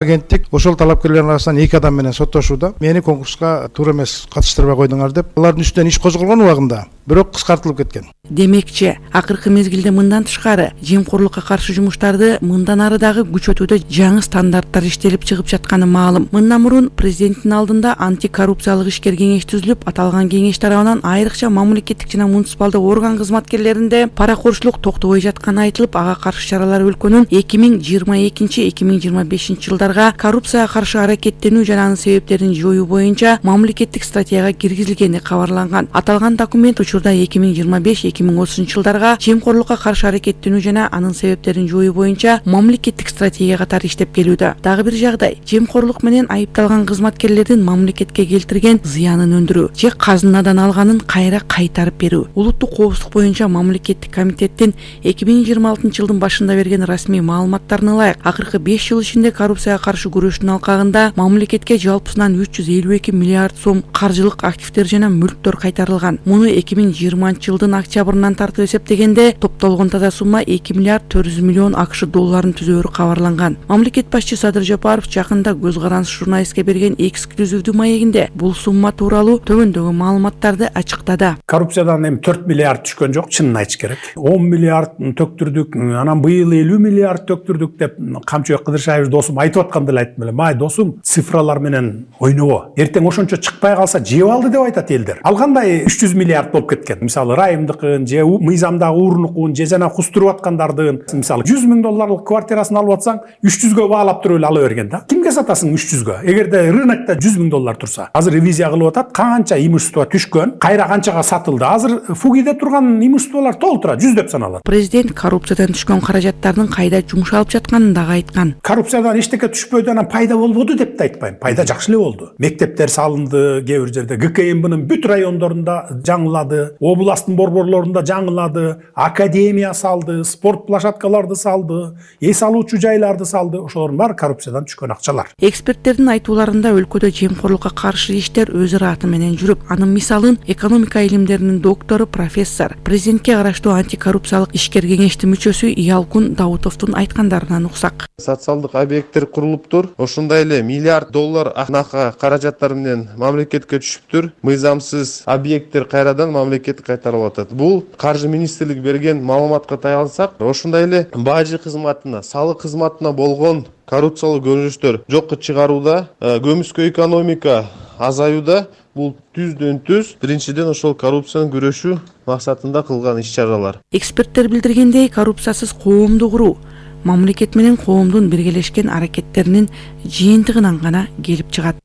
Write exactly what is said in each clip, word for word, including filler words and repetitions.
Агенттик ошол талапкерлердин арасынан эки адам менен соттошууда. Мени конкурска туура эмес катыштырбай койдуңар деп, алардын үстүнөн иш козголгон убагында бирок кыскартылып кеткен. Демекчи, акыркы мезгилде мындан тышкары жемкорлукка каршы жумуштарды мындан ары дагы күчөтүүдө жаңы стандарттар иштелип чыгып жатканы маалым. Мындан мурун президенттин алдында антикоррупциялык ишкер кеңеш түзүлүп, аталган кеңеш тарабынан айрыкча мамлекеттик жана муниципалдык орган кызматкерлеринде паракорчулук токтобой жатканы айтылып, ага каршы чаралар өлкөнүн эки миң жыйырма экинчи эки миң жыйырма бешинчи жылдарга коррупцияга каршы аракеттенүү жана анын себептерин жоюу боюнча мамлекеттик стратегияга киргизилгени кабарланган. Аталган документ учурда эки миң жыйырма беш эки миң отузунчу жылдарга жемкорлукка каршы аракеттенүү жана анын себептерин жоюу боюнча мамлекеттик стратегия катары иштеп келүүдө. Дагы бир жагдай, жемкорлук менен айыпталган кызматкерлердин мамлекетке келтирген зыянын өндүрүү же казынадан алганын кайра кайтарып берүү. Улуттук коопсуздук боюнча мамлекеттик комитеттин эки миң жыйырма алтынчы жылдын башында берген расмий маалыматтарына ылайык, акыркы беш жыл ичинде коррупцияга каршы күрөштүн алкагында мамлекетке жалпысынан үч жүз элүү эки миллиард сом каржылык активдер жана мүлктөр кайтарылган. Муну эки миң жыйырманчы жылдын октябрынан тартып эсептегенде топтолгон таза сумма эки миллиард төрт жүз миллион акш долларын түзөөрү кабарланган. Мамлекет башчы Садыр Жапаров жакында Көз карандысыз журналистке берген эксклюзивдүү маегинде бул сумма тууралуу төмөндөгү маалыматтарды ачыктады. Коррупциядан эми төрт миллиард түшкөн жок, чынын айтыш керек. он миллиард төктүрдүк, анан быйыл элүү миллиард төктүрдүк деп Камчыбек Кыдыршаев досум айтып атканда эле айттым эле. Май досум, цифралар менен ойнобо. Эртең ошончо чыкпай калса жеп алды деп айтат элдер. Ал кандай үч жүз миллиард болуп кеткен. Мисалы Райымдыкын же мыйзамдагы уурнукун же жана кустуруп аткандардын, мисалы жүз миң долларлык квартирасын алып атсаң, үч жүзгө баалап туруп эле ала берген да. Кимге сатасың үч жүзгө? Эгерде рынокто жүз миң доллар турса, азыр ревизия кылып атат, канча имущество түшкөн, кайра канчага сатылды. Азыр фугиде турган имуществолор толуп турат, жүз деп саналат. Президент коррупциядан түшкөн каражаттардын кайда жумшалып жатканын дагы айткан. Коррупциядан эчтеке түшпөдү, анан пайда болбоду деп да айтпайм. Пайда жакшы эле болду. Мектептер салынды, кээ бир жерде гэ ка эм бнын бүт райондорунда жаңылады, областтын борборлорунда жаңылады, академия салды, спорт площадкаларды салды, эс алуучу жайларды салды. Ошолордун баары коррупциядан түшкөн акчалар. Эксперттердин айтууларында өлкөдө жемкорлукка каршы иштер өз ыраты менен жүрүп, анын мисалын экономика илимдеринин доктору, профессор, президентке караштуу антикоррупциялык ишкер кеңештин мүчөсү Ялкун Даутовдун айткандарынан уксак. Социалдык объекттер курулуптур. Ошондой эле миллиард доллар акнака каражаттар менен мамлекетке түшүптүр. Мыйзамсыз объекттер кайрадан мамлекетке кайтарылып атат. Бул каржы министрлиги берген маалыматка таянсак, ошондой эле бажы кызматына, салык кызматына болгон коррупциялык көрүнүштөр жокко чыгарууда, көмүскө экономика азаюуда. Бул түздөн түз биринчиден ошол коррупцияны күрөшүү максатында кылган иш-чаралар. Эксперттер билдиргендей, коррупциясыз коомду куруу мамлекет менен коомдун биргелешкен аракеттеринин жыйынтыгынан гана келип чыгат.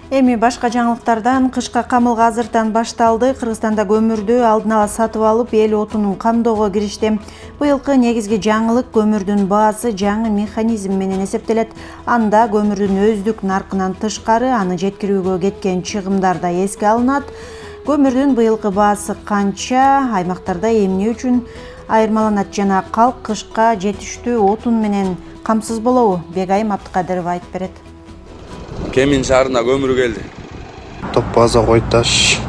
Эми башка жаңылыктардан кышка камылга азыртан башталды. Кыргызстанда көмүрдү алдын ала сатып алып, эл отунун камдоого киришти. Быйылкы негизги жаңылык көмүрдүн баасы жаңы механизм менен эсептелет. Анда көмүрдүн өздүк наркынан тышкары аны жеткирүүгө кеткен чыгымдар да эске алынат. Көмүрдүн быйылкы баасы канча, аймактарда эмне үчүн айырмаланат жана калк кышка жетиштүү отун менен камсыз болобу? Бегайым Абдыкадырова айтып берет. Кемин шаарына көмүр келди. Топ база Койташ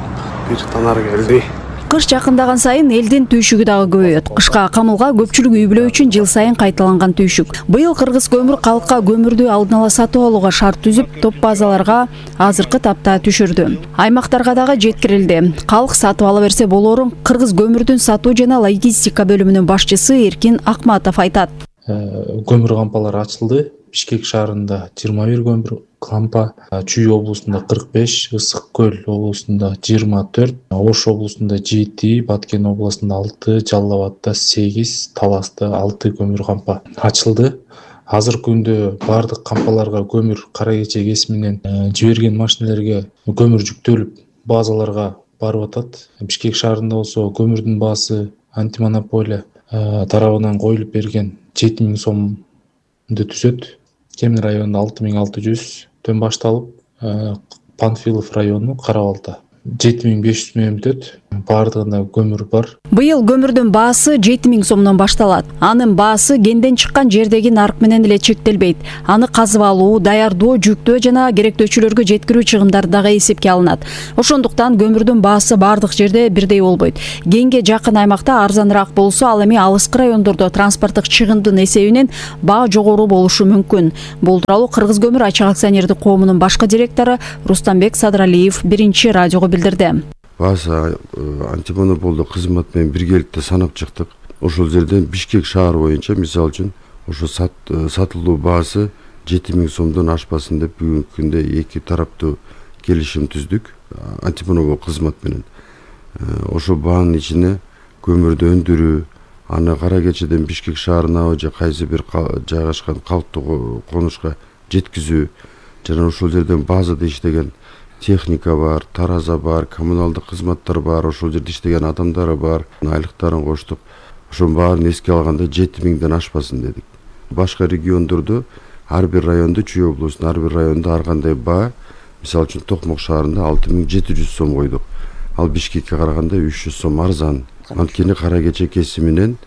бир танар келди. Кыш жакындаган сайын элдин түйшүгү дагы көбөйөт. Кышка камылга көпчүлүк үй бүлө үчүн жыл сайын кайталанган түйшүк. Быйыл Кыргыз көмүр калкка көмүрдү алдын ала сатып алууга шарт түзүп, топ базаларга азыркы тапта түшүрдү. Аймактарга дагы жеткирилди. Калк сатып ала берсе болорун Кыргыз көмүрдүн сатуу жана логистика бөлүмүнүн башчысы Эркин Акматов айтат. Көмүр кампалары ачылды. Бишкек шаарында жыйырма бир көмүр кампа, Чүй облусунда кырк беш, Ысык көл облусунда жыйырма төрт, Ош облусунда жети, Баткен облусунда алты, Жалал Абадта сегиз, Таласта алты көмүр кампа ачылды. Азыркы күндө бардык кампаларга көмүр кара кече кесип менен жиберген машинелерге көмүр жүктөлүп базаларга барып атат. Бишкек шаарында болсо көмүрдүн баасы антимонополия тарабынан коюлуп берген жети миң сомду түзөт. Кемин районунда алты миң алты жүз төн башталып, Панфилов району Кара Балта жети миң беш жүз менен бүтөт. баардыгында көмүр бар. Быйыл көмүрдүн баасы жети миң сомдон башталат. Анын баасы кенден чыккан жердеги нарк менен эле чектелбейт. Аны казып алуу, даярдоо, жүктөө жана керектөөчүлөргө жеткирүү чыгымдары дагы эсепке алынат. Ошондуктан көмүрдүн баасы баардык жерде бирдей болбойт. Кенге жакын аймакта арзаныраак болсо, ал эми алыскы райондордо транспорттук чыгымдын эсебинен баа жогору болушу мүмкүн. Бул тууралуу Кыргыз көмүр ачык акционердик коомунун башкы директору Рустамбек Садралиев биринчи радиого билдирди. Бааса антимонополдук кызмат менен биргеликте санап чыктык. Ошол жерден Бишкек шаар боюнча мисалы үчүн ошо сатылуу баасы жети миң сомдон ашпасын деп бүгүнкү күндө эки тараптуу келишим түздүк антимонопол кызмат менен. Ошол баанын ичине көмүрдү өндүрүү, аны Кара Кечеден Бишкек шаарына же кайсы бир жайгашкан калктуу конушка жеткизүү жана ошол жерден базада иштеген техника бар, тараза бар, коммуналдык кызматтар бар, ошол жерде иштеген адамдар бар, айлыктарын коштук. Ошонун баарын эске алганда жети миңден ашпасын дедик. Башка региондордо ар бир райондо, Чүй облусунун ар бир районунда ар кандай баа, мисалы үчүн Токмок шаарында алты миң жети жүз сом койдук. Ал Бишкекке караганда үч жүз сом арзан. Анткени Кара Кече кесиминен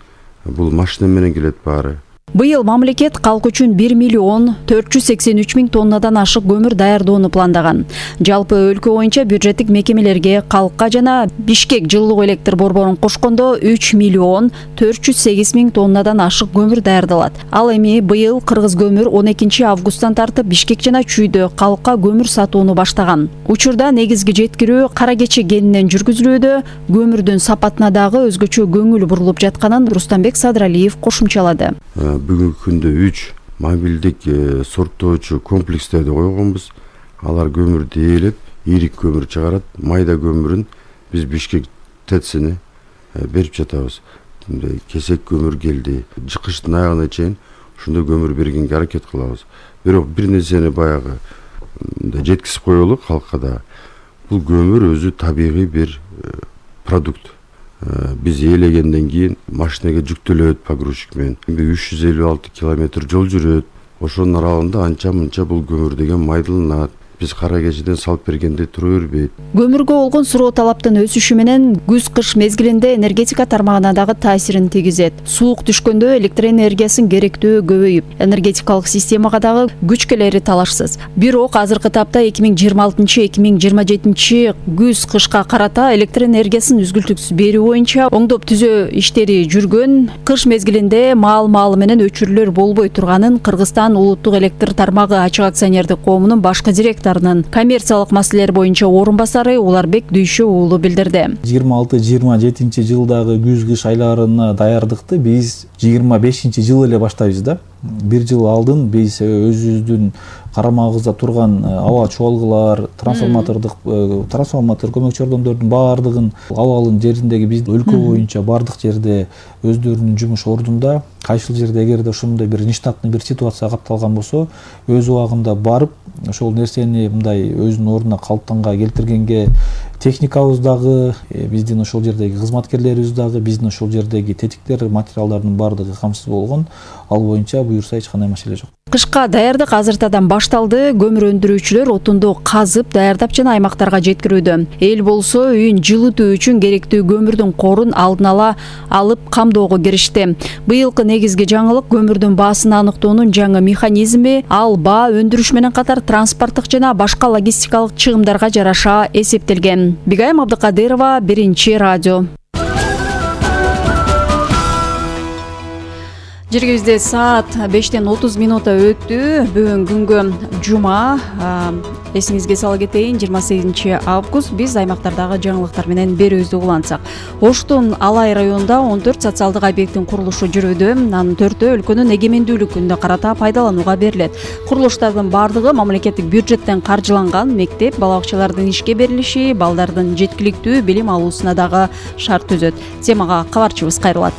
бул машина менен келет баары. Быйыл мамлекет калк үчүн бир миллион төрт жүз сексен үч миң тоннадан ашык көмүр даярдоону пландаган. Жалпы өлкө боюнча бюджеттик мекемелерге калкка жана Бишкек жылуулук электр борборун кошкондо үч миллион төрт жүз сегиз миң тоннадан ашык көмүр даярдалат. Ал эми быйыл Кыргыз көмүр он экинчи августтан тартып Бишкек жана Чүйдө калкка көмүр сатууну баштаган. Учурда негизги жеткирүү Кара Кече кенинен жүргүзүлүүдө, көмүрдүн сапатына дагы өзгөчө көңүл бурулуп жатканын Рустамбек Садралиев кошумчалады. Бүгүнкү күндө үч мобилдик сорттоочу комплекстерди койгонбуз. Алар көмүрдү ээлеп, ийрик көмүр чыгарат. Майда көмүрүн биз Бишкек ТЭЦине берип жатабыз. Кесек көмүр келди. Жыкыштын аягына чейин ушундай көмүр бергенге аракет кылабыз. Бирок бир нерсени баягы жеткизип коелу калкка да. Бул көмүр өзү табигый бир продукт. Биз ээлегенден кийин машинеге жүктөлөт погрузчик менен. үч жүз элүү алты километр жол жүрөт. Ошонун аралыгында анча-мынча бул көмүр деген майдаланат. Биз Кара Кечеден салып бергенде тура бербейт. Көмүргө болгон суроо талаптын өсүшү менен күз-кыш мезгилинде энергетика тармагына дагы таасирин тийгизет. Суук түшкөндө электр энергиясын керектөө көбөйүп, энергетикалык системага дагы күч келери талашсыз. Бирок азыркы тапта эки миң жыйырма алтынчы эки миң жыйырма жетинчи күз-кышка карата электр энергиясын үзгүлтүксүз берүү боюнча оңдоп түзөө иштери жүргөн. Кыш мезгилинде маал-маалы менен өчүрүүлөр болбой турганын Кыргызстан улуттук электр тармагы ачык акционердик коомунун башкы директору коммерциялык маселелер боюнча орун басары Уларбек Дүйшө уулу билдирди. жыйырма алты жыйырма жетинчи жылдагы күз-кыш айларына даярдыкты биз жыйырма бешинчи жыл эле баштайбыз да. Бир жыл алдын биз өзүбүздүн карамагыбызда турган аба чуалгылар, трансформатордук трансформатор көмөкчү ордондордун баардыгын абалын жериндеги биз өлкө боюнча баардык жерде өздөрүнүн жумуш ордунда, кайсыл жерде эгерде ошондой бир нештатный бир ситуация катталган болсо, өз убагында барып ошол нерсени мындай өзүнүн ордуна калыптанга келтиргенге техникабыз дагы, биздин ошол жердеги кызматкерлерибиз дагы, биздин ошол жердеги тетиктер, материалдардын баардыгы камсыз болгон. Ал боюнча буюрса эч кандай маселе жок. Кышка даярдык азыртадан башталды. Көмүр өндүрүүчүлөр отунду казып, даярдап жана аймактарга жеткирүүдө. Эл болсо үйүн жылытуу үчүн керектүү көмүрдүн корун алдын ала алып камдоого киришти. Быйылкы негизги жаңылык көмүрдүн баасын аныктоонун жаңы механизми. Ал баа өндүрүш менен катар транспорттук жана башка логистикалык чыгымдарга жараша эсептелген. Бигайым Абдыкадырова, биринчи радио. Жергибизде саат бештен отуз минута өттү. Бүгүн күнгө жума. Эсиңизге сала кетейин, жыйырма сегизинчи август биз аймактардагы жаңылыктар менен берүүбүздү улантсак. Оштун Алай районунда он төрт социалдык объекттин курулушу жүрүүдө. Анын төртөө өлкөнүн эгемендүүлүгүнө карата пайдаланууга берилет. Курулуштардын баардыгы мамлекеттик бюджеттен каржыланган. Мектеп, бала бакчалардын ишке берилиши, балдардын жеткиликтүү билим алуусуна дагы шарт түзөт. Темага кабарчыбыз кайрылат.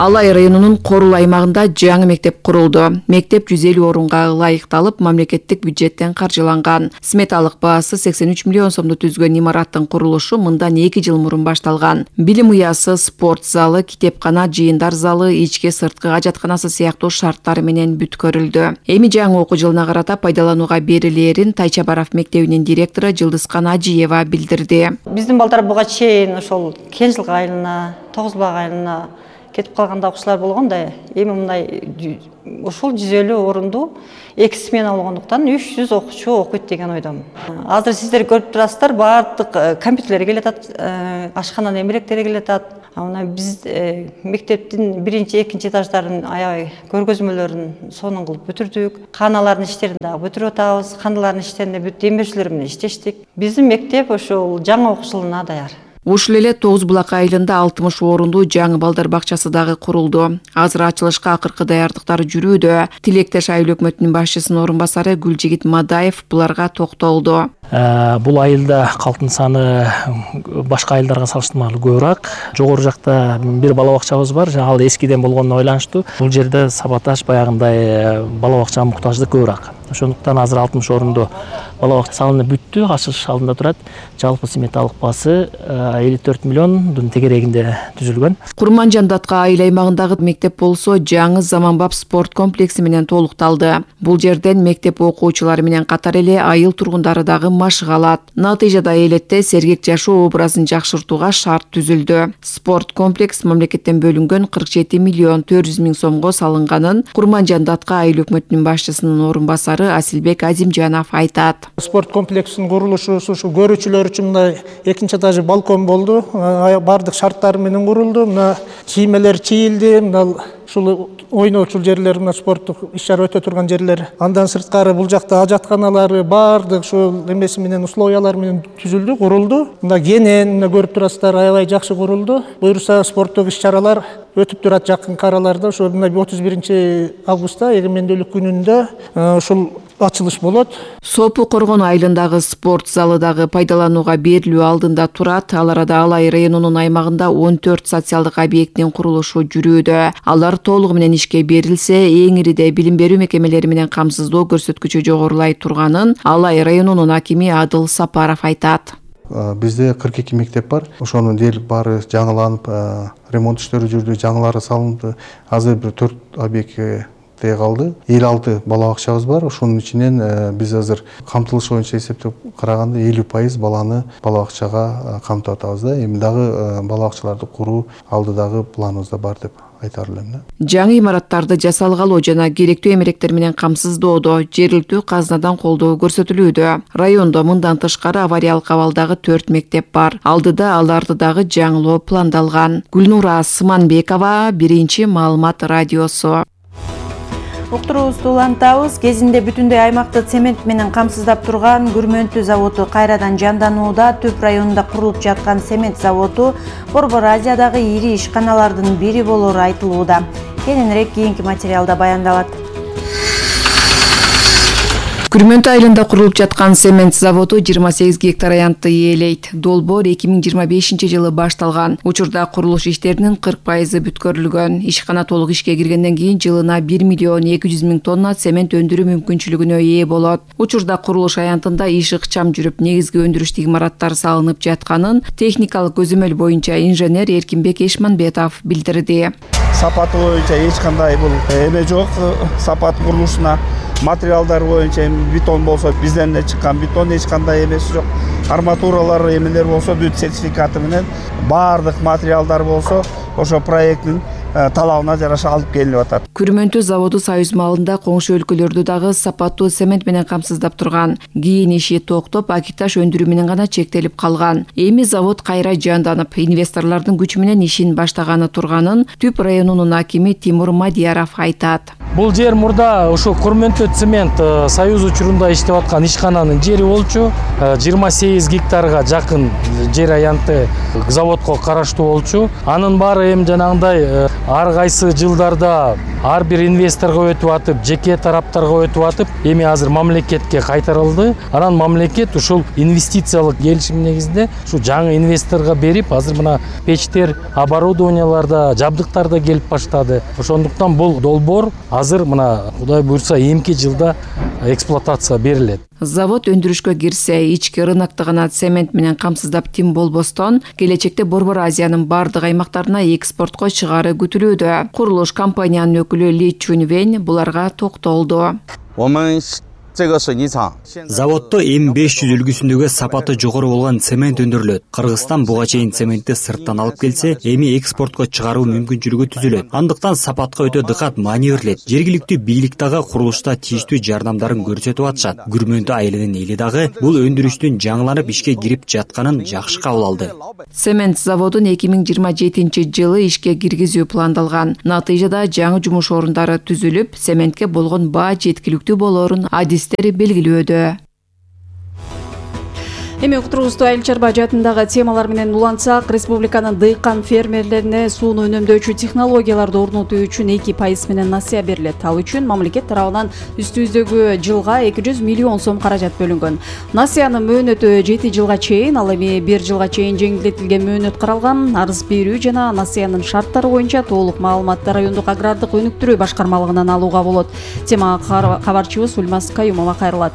Алай районунун Корул аймагында жаңы мектеп курулду. Мектеп жүз элүү орунга ылайыкталып, мамлекеттик бюджеттен каржыланган. Сметалык баасы сексен үч миллион сомду түзгөн имараттын курулушу мындан эки жыл мурун башталган. Билим уясы, спорт залы, китепкана, жыйындар залы, ички сырткы ажатканасы сыяктуу шарттар менен бүткөрүлдү. Эми жаңы окуу жылына карата пайдаланууга берилерин Тайчабаров мектебинин директору Жылдызкан Ажиева билдирди. Биздин балдар буга чейин ошол Кенжил айылына, Тогуз Баг айылына кетип калган окуучулар болгон да. Эми мындай ушул жүз элүү орунду эки смена болгондуктан үч жүз окуучу окуйт деген ойдомун. Азыр сиздер көрүп турасыздар, баардык компьютерлер келатат, ашкананын эмеректери келатат. Мына биз мектептин биринчи, экинчи этаждарын аябай көргөзмөлөрүн сонун кылып бүтүрдүк. Каналардын иштерин дагы бүтүрүп атабыз. Каналардын иштеринде бүт демирчилер менен иштештик. Биздин мектеп ошол жаңы окуу жылына даяр. Ушул эле Тогуз Булак айылында алтымыш орунду жаңы балдар бакчасы дагы курулду. Азыр ачылышка акыркы даярдыктар жүрүүдө. Тилектеш айыл өкмөтүнүн башчысынын орун басары Гүлжигит Мадаев буларга токтолду. Бул айылда калктын саны башка айылдарга салыштырмалуу көбүрөөк. Жогору жакта бир бала бакчабыз бар, ал эскиден болгонуна байланыштуу. Бул жерде сабаташ баягындай бала бакчага муктаждык көбүрөөк. Ошондуктан азыр алтымыш орунду бала бакча салынып бүттү, ачылыш алдында турат. Жалпы сметалык баасы элүү төрт миллиондун тегерегинде түзүлгөн. Курманжан Датка айыл аймагындагы мектеп болсо жаңы заманбап спорт комплекси менен толукталды. Бул жерден мектеп окуучулары менен катар эле айыл тургундары дагы машык алат. Натыйжада элетте сергек жашоо образын жакшыртууга шарт түзүлдү. Спорт комплекс мамлекеттен бөлүнгөн кырк жети миллион төрт жүз миң сомго салынганын Курманжан Датка айыл өкмөтүнүн башчысынын орун басары Асилбек Азимжанов айтат. Спорт комплексинин курулушу ушул көрүүчүлөр үчүн мына экинчи этажы балкон болду. Бардык шарттар менен курулду. Мына кийимелер чийилди. Мына ушул ойноочул жерлер, мына спорттук иш-чара өтө турган жерлер. Андан сырткары бул жакта ажатканалары бардык ушул эмеси менен условиялар менен түзүлдү, курулду. Мына кенен, мына көрүп турасыздар, аябай жакшы курулду. Буюрса спорттук иш-чаралар өтүп турат жакынкы араларда. Ошо мына отуз биринчи августта эгемендүүлүк күнүндө ушул ачылыш болот. Сопу Коргон айылындагы спорт залы дагы пайдаланууга берилүү алдында турат. Ал арада Алай районунун аймагында он төрт социалдык объекттин курулушу жүрүүдө. Алар толугу менен ишке берилсе, эң ириде билим берүү мекемелери менен камсыздоо көрсөткүчү жогорулай турганын Алай районунун акими Адыл Сапаров айтат. Бизде кырк эки мектеп бар. Ошонун дээрлик баары жаңыланып, ремонт иштери жүрдү, жаңылары салынды. Азыр бир төрт объектке калды. элүү алты бала бакчабыз бар. Ошонун ичинен биз азыр камтылыш боюнча эсептеп караганда элүү пайыз баланы бала бакчага камтып атабыз да. Эми дагы бала бакчаларды куруу алдыдагы планыбызда бар деп айтар элем. Жаңы имараттарды жасалгалоо жана керектүү эмеректер менен камсыздоодо жергиликтүү казынадан колдоо көрсөтүлүүдө. Райондо мындан тышкары авариялык абалдагы төрт мектеп бар. Алдыда аларды дагы жаңылоо пландалган. Гүлнура Сыманбекова, Биринчи маалымат радиосу. Уктуруубузду улантабыз. Кезинде бүтүндөй аймакты цемент менен камсыздап турган Күрмөнтү заводу кайрадан жанданууда. Түп районунда курулуп жаткан цемент заводу Борбор Азиядагы ири ишканалардын бири болору айтылууда. Кененирээк кийинки материалда баяндалат. Күрмөнтү айылында курулуп жаткан цемент заводу жыйырма сегиз гектар аянтты ээлейт. Долбоор эки миң жыйырма бешинчи жылы башталган. Учурда курулуш иштеринин кырк пайызы бүткөрүлгөн. Ишкана толук ишке киргенден кийин жылына бир миллион эки жүз миң тонна цемент өндүрүү мүмкүнчүлүгүнө ээ болот. Учурда курулуш аянтында иш ыкчам жүрүп, негизги өндүрүштүк имараттар салынып жатканын техникалык көзөмөл боюнча инженер Эркинбек Эшманбетов билдирди. Сапаты боюнча эч кандай бул эме жок. Сапат курулушуна материалдар боюнча бетон болсо бизден эле чыккан бетон, эч кандай эмеси жок. Арматуралар эмелер болсо бүт сертификаты менен, баардык материалдар болсо ошо проекттин талабына жараша алып келип атат. Күрмөнтү заводу Союз маалында коңшу өлкөлөрдү дагы сапаттуу цемент менен камсыздап турган. Кийин иши токтоп, акиташ өндүрүү менен гана чектелип калган. Эми завод кайра жанданып, инвесторлордун күчү менен ишин баштаганы турганын Түп районунун акими Тимур Мадияров айтат. Бул жер мурда ошо Күрмөнтү цемент Союз учурунда иштеп аткан ишкананын жери болчу. жыйырма сегиз гектарга жакын жер аянты заводко караштуу болчу. Анын баары эми жанагындай ар кайсы жылдарда ар бир инвесторго өтүп атып, жеке тараптарга өтүп атып, эми азыр мамлекетке кайтарылды. Анан мамлекет ушул инвестициялык келишим негизинде ушу жаңы инвесторго берип, азыр мына печтер, оборудованияларда, жабдыктарда келип баштады. Ошондуктан бул долбоор азыр мына Кудай буйрса эмки жылда эксплуатация берилет. Завод өндүрүшкө кирсе, ички рынокто гана цемент менен камсыздап тим болбостон, келечекте Борбор Азиянын бардык аймактарына экспортко чыгаары күтүлүүдө. Курулуш компаниянын өкүлү Ли Чунвен буларга токтолду. Заводдо эм беш жүз үлгүсүндөгү сапаты жогору болгон цемент өндүрүлөт. Кыргызстан буга чейин цементти сырттан алып келсе, эми экспортко чыгаруу мүмкүнчүлүгү түзүлөт. Андыктан сапатка өтө дыкат маанилерлет. Жергиликтүү бийлик дагы курулушта тийиштүү жардамдарын көрсөтүп атышат. Күрмөндү айылынын эли дагы бул өндүрүштүн жаңыланып ишке кирип жатканын жакшы кабыл алды. Цемент заводун эки миң жыйырма жетинчи жылы ишке киргизүү пландалган. Натыйжада жаңы жумуш орундары түзүлүп, цементке болгон баа жеткиликтүү болоорун адистери белгилөөдө. Эми уктуруубузду айыл чарба жаатындагы темалар менен улантсак, республиканын дыйкан фермерлерине сууну үнөмдөөчү технологияларды орнотуу үчүн эки пайыз менен насыя берилет. Ал үчүн мамлекет тарабынан үстүбүздөгү жылга эки жүз миллион сом каражат бөлүнгөн. Насыянын мөөнөтү жети жылга чейин, ал эми бир жылга чейин жеңилдетилген мөөнөт каралган. Арыз берүү жана насыянын шарттары боюнча толук маалыматты райондук агрардык өнүктүрүү башкармалыгынан алууга болот. Темага кабарчыбыз Ульмас Каюмова кайрылат.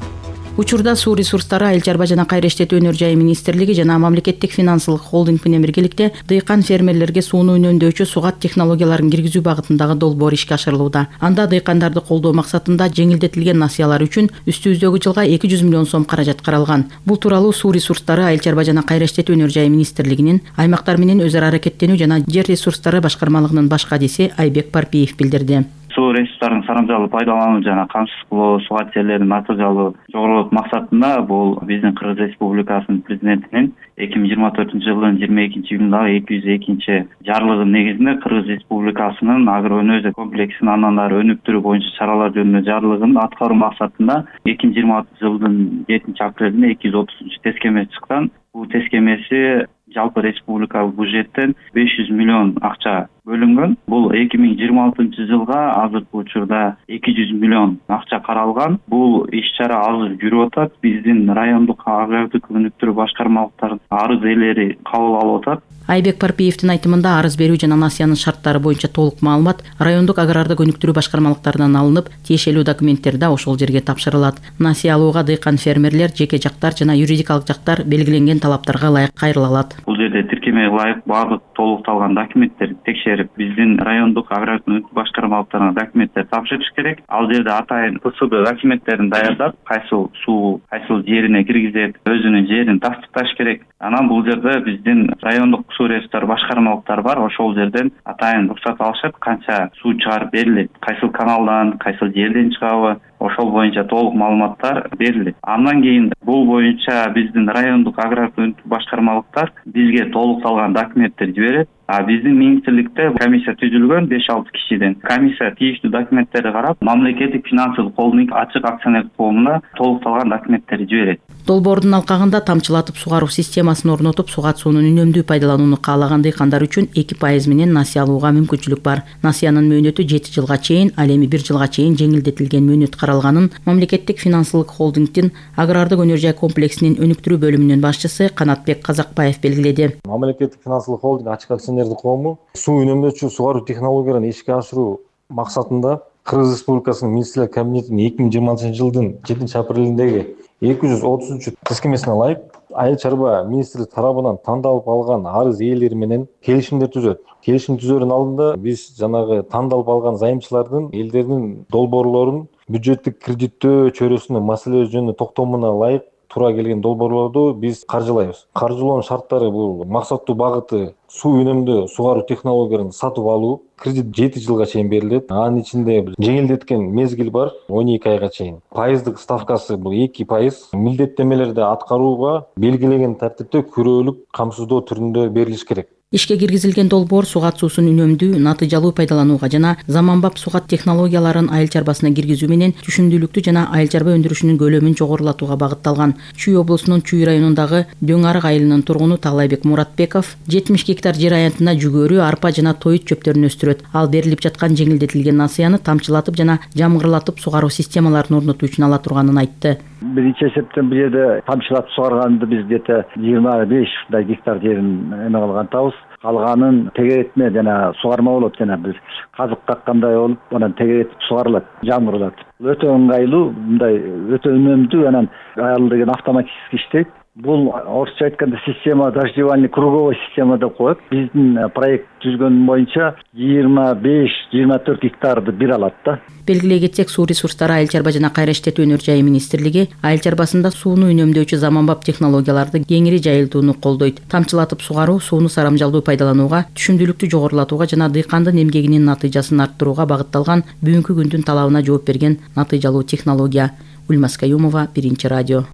Учурда суу ресурстары, айыл чарба жана кайра иштетүү өнөр жайы министрлиги жана мамлекеттик финансылык холдинг менен биргеликте дыйкан фермерлерге сууну үнөмдөөчү сугат технологияларын киргизүү багытындагы долбоор ишке ашырылууда. Анда дыйкандарды колдоо максатында жеңилдетилген насыялар үчүн үстүбүздөгү жылга эки жүз миллион сом каражат каралган. Бул тууралуу суу ресурстары, айыл чарба жана кайра иштетүү өнөр жайы министрлигинин аймактар менен өз ара аракеттенүү жана жер ресурстары башкармалыгынын баш кадиси Айбек Парпиев билдирди. Суу ресурстарын сарамжалуу пайдалануу жана камсыз кылуу, сугат жерлерин натыйжалуу жогорултуу максатында бул биздин Кыргыз Республикасынын президентинин эки миң жыйырма төртүнчү жылдын жыйырма экинчи июлундагы эки жүз экинчи жарлыгынын негизинде Кыргыз Республикасынын агроөнөзү комплексин андан ары өнүктүрүү боюнча чаралар жөнүндө жарлыгын аткаруу максатында эки миң жыйырма алтынчы жылдын жетинчи апрелинде эки жүз отузунчу тескемеси чыккан. Бул тескемеси жалпы республикалык бюджеттен беш жүз миллион акча бөлүнгөн. Бул эки миң жыйырма алтынчы жылга азыркы учурда эки жүз миллион акча каралган. Бул иш-чара азыр жүрүп атат. Биздин райондук агрардык өнүктүрүү башкармалыктарынын арыз ээлери кабыл алып атат. Айбек Парпиевдин айтымында арыз берүү жана насыянын шарттары боюнча толук маалымат райондук агрардык өнүктүрүү башкармалыктарынан алынып, тиешелүү документтер да ошол жерге тапшырылат. Насыя алууга дыйкан фермерлер, жеке жактар жана юридикалык жактар белгиленген талаптарга ылайык кайрыла алат. Бул жерде тиркемеге ылайык баардык толукталган документтерди текшерип, биздин райондук агрардык өнүктүрүү башкармалыктарына документтер тапшырыш керек. Ал жерде атайын П С Б документтерин даярдап, кайсыл суу, кайсыл жерине киргизет, өзүнүн жерин тастыкташ керек. Анан бул жерде биздин райондук суу ресурстары башкармалыктар бар, ошол жерден атайын уруксат алышат, канча суу чыгарып берилет, кайсыл каналдан, кайсыл жерден чыгабы, ошол боюнча толук маалыматтар берилет. Андан кийин бул боюнча биздин райондук агрардык өнүктүрүү башкармалыктар бизге толукталган документтер жиберет. А биздин министрликте комиссия түзүлгөн беш алты кишиден. Комиссия тийиштүү документтерди карап, мамлекеттик финансылык холдинг ачык акционерлик коомуна толукталган документтерди жиберет. Долбоордун алкагында тамчылатып сугаруу системасын орнотуп, сугат суунун үнөмдүү пайдаланууну каалаган дыйкандар үчүн эки пайыз менен насыя алууга мүмкүнчүлүк бар. Насыянын мөөнөтү жети жылга чейин, ал эми бир жылга чейин жеңилдетилген мөөнөт каралганын мамлекеттик финансылык холдингдин агрардык өнөр жай комплексинин өнүктүрүү бөлүмүнүн башчысы Канатбек Казакбаев белгиледи. Мамлекеттик финансылык холдинг ачык акционердик коому суу үнөмдөөчү сугаруу технологияларын ишке ашыруу максатында Кыргыз Республикасынын министрлер кабинетинин эки миң жыйырма алтынчы жылдын жетинчи апрелиндеги эки жүз отузунчу тескемесине ылайык айыл чарба министрлик тарабынан тандалып алган арыз ээлери менен келишимдер түзөт. Келишим түзөөрүн алдында биз жанагы тандалып алган зайымчылардын элдеринин долбоорлорун бюджеттик кредиттөө чөйрөсүнө маселе жөнүндө токтомуна ылайык туура келген долбоорлорду биз каржылайбыз. Каржылоонун шарттары бул максаттуу багыты суу үнөмдөө сугаруу технологияларын сатып алуу. Кредит жети жылга чейин берилет. Анын ичинде жеңилдеткен мезгил бар он эки айга чейин. Пайыздык ставкасы бул эки пайыз. Милдеттемелерди аткарууга белгилеген тартипте күрөөлүк камсыздоо түрүндө берилиш керек. Ишке киргизилген долбоор сугат суусун үнөмдүү, натыйжалуу пайдаланууга жана заманбап сугат технологияларын айыл чарбасына киргизүү менен түшүмдүүлүктү жана айыл чарба өндүрүшүнүн көлөмүн жогорулатууга багытталган. Чүй облусунун Чүй районундагы Дөң Арык айылынын тургуну Таалайбек Муратбеков жетимиш гектар жер аянтына жүгөрү, арпа жана тоют чөптөрүн өстүрөт. Ал берилип жаткан жеңилдетилген насыяны тамчылатып жана жамгырлатып сугаруу системаларын орнотуу үчүн ала турганын айтты. Биринчи эсептен бул жерде тамчылатып сугарганды биз где-то жыйырма беш гектар жерин эме кылган атабыз. Калганын тегеретме жана сугарма болот, жана бир казык каккандай болуп, анан тегеретип сугарылат, жамгырлатып. Өтө ыңгайлуу, мындай өтө үнөмдүү, анан аял деген автоматически иштейт. Бул орусча айтканда система дождевальный круговой система деп коет. Биздин проект түзгөн боюнча жыйырма беш жыйырма төрт гектарды бир алат да. Белгилей кетсек, суу ресурстары айыл чарба жана кайра иштетүү өнөр жайы министрлиги айыл чарбасында сууну үнөмдөөчү заманбап технологияларды кеңири жайылтууну колдойт. Тамчылатып сугаруу сууну сарамжалдуу пайдаланууга, түшүмдүүлүктү жогорулатууга жана дыйкандын эмгегинин натыйжасын арттырууга багытталган бүгүнкү күндүн талабына жооп берген натыйжалуу технология. Ульмас Каюмова, Биринчи радио.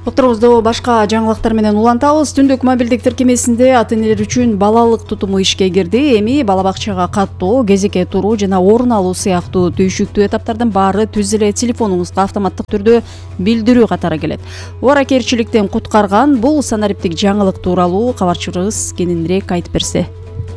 Отурубузду башка жаңылыктар менен улантабыз. Түндүк мобилдик тиркемесинде ата-энелер үчүн балалык тутуму ишке кирди. Эми бала бакчага каттоо, кезекке туруу жана орун алуу сыяктуу түйшүктүү эtaптардын баары түз эле телефонуңузга автоматтык түрдө билдирүү катары келет. Убаракерчиликтен куткарган бул санариптик жаңылык тууралуу кабарчыбыз кененирээк айтып берсе.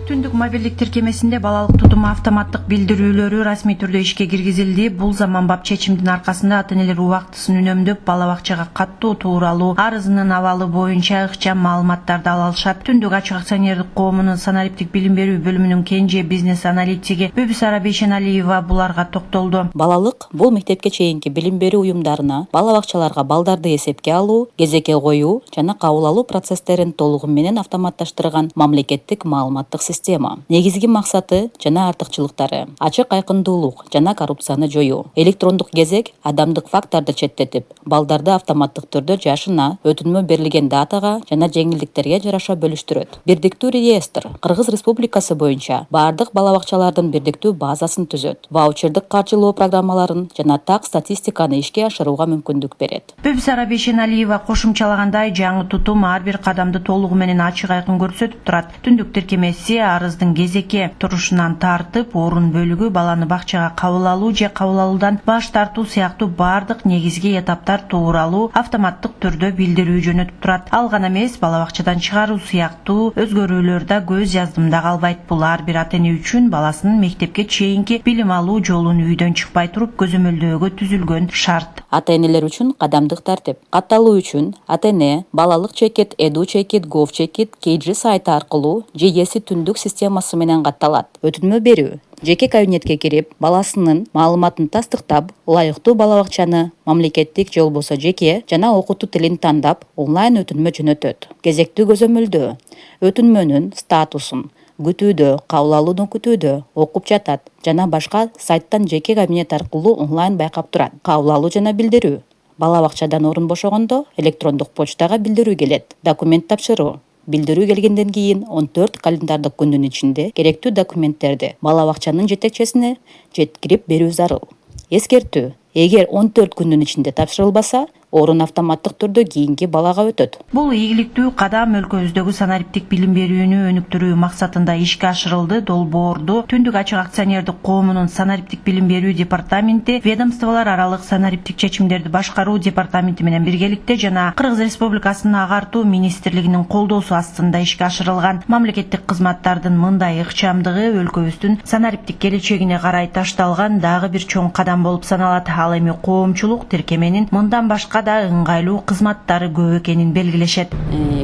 Түндүк мобилдик тиркемесинде балалык тутуму автоматтык билдирүүлөрү расмий түрдө ишке киргизилди. Бул заманбап чечимдин аркасында ата-энелер убактысын үнөмдөп, бала бакчага каттоо тууралуу арызынын абалы боюнча ыкчам маалыматтарды ала алышат. Түндүк ачык акционердик коомунун санариптик билим берүү бөлүмүнүн кенже бизнес аналитиги Бүбүсара Бейшеналиева буларга токтолду. Балалык бул мектепке чейинки билим берүү уюмдарына, бала бакчаларга балдарды эсепке алуу, кезекке коюу жана кабыл алуу процесстерин толугу менен автоматташтырган мамлекеттик маалыматтык система. Негизги максаты жана артыкчылыктары: ачык айкындуулук жана коррупцияны жоюу. Электрондук кезек адамдык факторду четтетип, балдарды автоматтык түрдө жашына, өтүнмө берилген датага жана жеңилдиктерге жараша бөлүштүрөт. Бирдиктүү реестр Кыргыз Республикасы боюнча бардык бала бакчалардын бирдиктүү базасын түзөт. Ваучердик каржылоо программаларын жана так статистиканы ишке ашырууга мүмкүндүк берет. Бүбүсара Бейшеналиева кошумчалагандай, жаңы тутум ар бир кадамды толугу менен ачык айкын көрсөтүп турат. Түндүк тиркемеси арыздын кезекке турушунан тартып, орун бөлүгү, баланы бакчага кабыл алуу же кабыл алуудан баш тартуу сыяктуу бардык негизги этаптар тууралуу автоматтык түрдө билдирүү жөнөтүп турат. Ал гана эмес, бала бакчадан чыгаруу сыяктуу өзгөрүүлөр да көз яздымда калбайт. Бул ар бир ата-эне үчүн баласынын мектепке чейинки билим алуу жолун үйдөн чыкпай туруп көзөмөлдөөгө түзүлгөн шарт. Ата-энелер үчүн кадамдык тартип. Катталуу үчүн ата-эне балалык чекит, эду чекит, гов чекит кей джи сайты аркылуу же эси түндүк системасы менен катталат. Өтүнмө берүү жеке кабинетке кирип, баласынын маалыматын тастыктап, ылайыктуу бала бакчаны мамлекеттик же болбосо жеке жана окутуу тилин тандап, онлайн өтүнмө жөнөтөт. Кезектүү көзөмөлдөө өтүнмөнүн статусун күтүүдө, кабыл алууну күтүүдө окуп жатат жана башка сайттан жеке кабинет аркылуу онлайн байкап турат. Кабыл алуу жана билдирүү бала бакчадан орун бошогондо электрондук почтага билдирүү келет. Документ тапшыруу билдирүү келгенден кийин он төрт календардык күндүн ичинде керектүү документтерди бала бакчанын жетекчисине жеткирип берүү зарыл. Эскертүү: эгер он төрт күндүн ичинде тапшырылбаса, орун автоматтык түрдө кийинки балага өтөт. Бул ийгиликтүү кадам өлкөбүздөгү санариптик билим берүүнү өнүктүрүү максатында ишке ашырылды. Долбоорду Түндүк ачык акционердик коомунун санариптик билим берүү департаменти, ведомстволор аралык санариптик чечимдерди башкаруу департаменти менен биргеликте жана Кыргыз Республикасынын агартуу министрлигинин колдоосу астында ишке ашырылган. Мамлекеттик кызматтардын мындай ыкчамдыгы өлкөбүздүн санариптик келечегине карай ташталган дагы бир чоң кадам болуп саналат. Ал эми коомчулук тиркеменин мындан башка да ыңгайлуу кызматтары көп экенин белгилешет.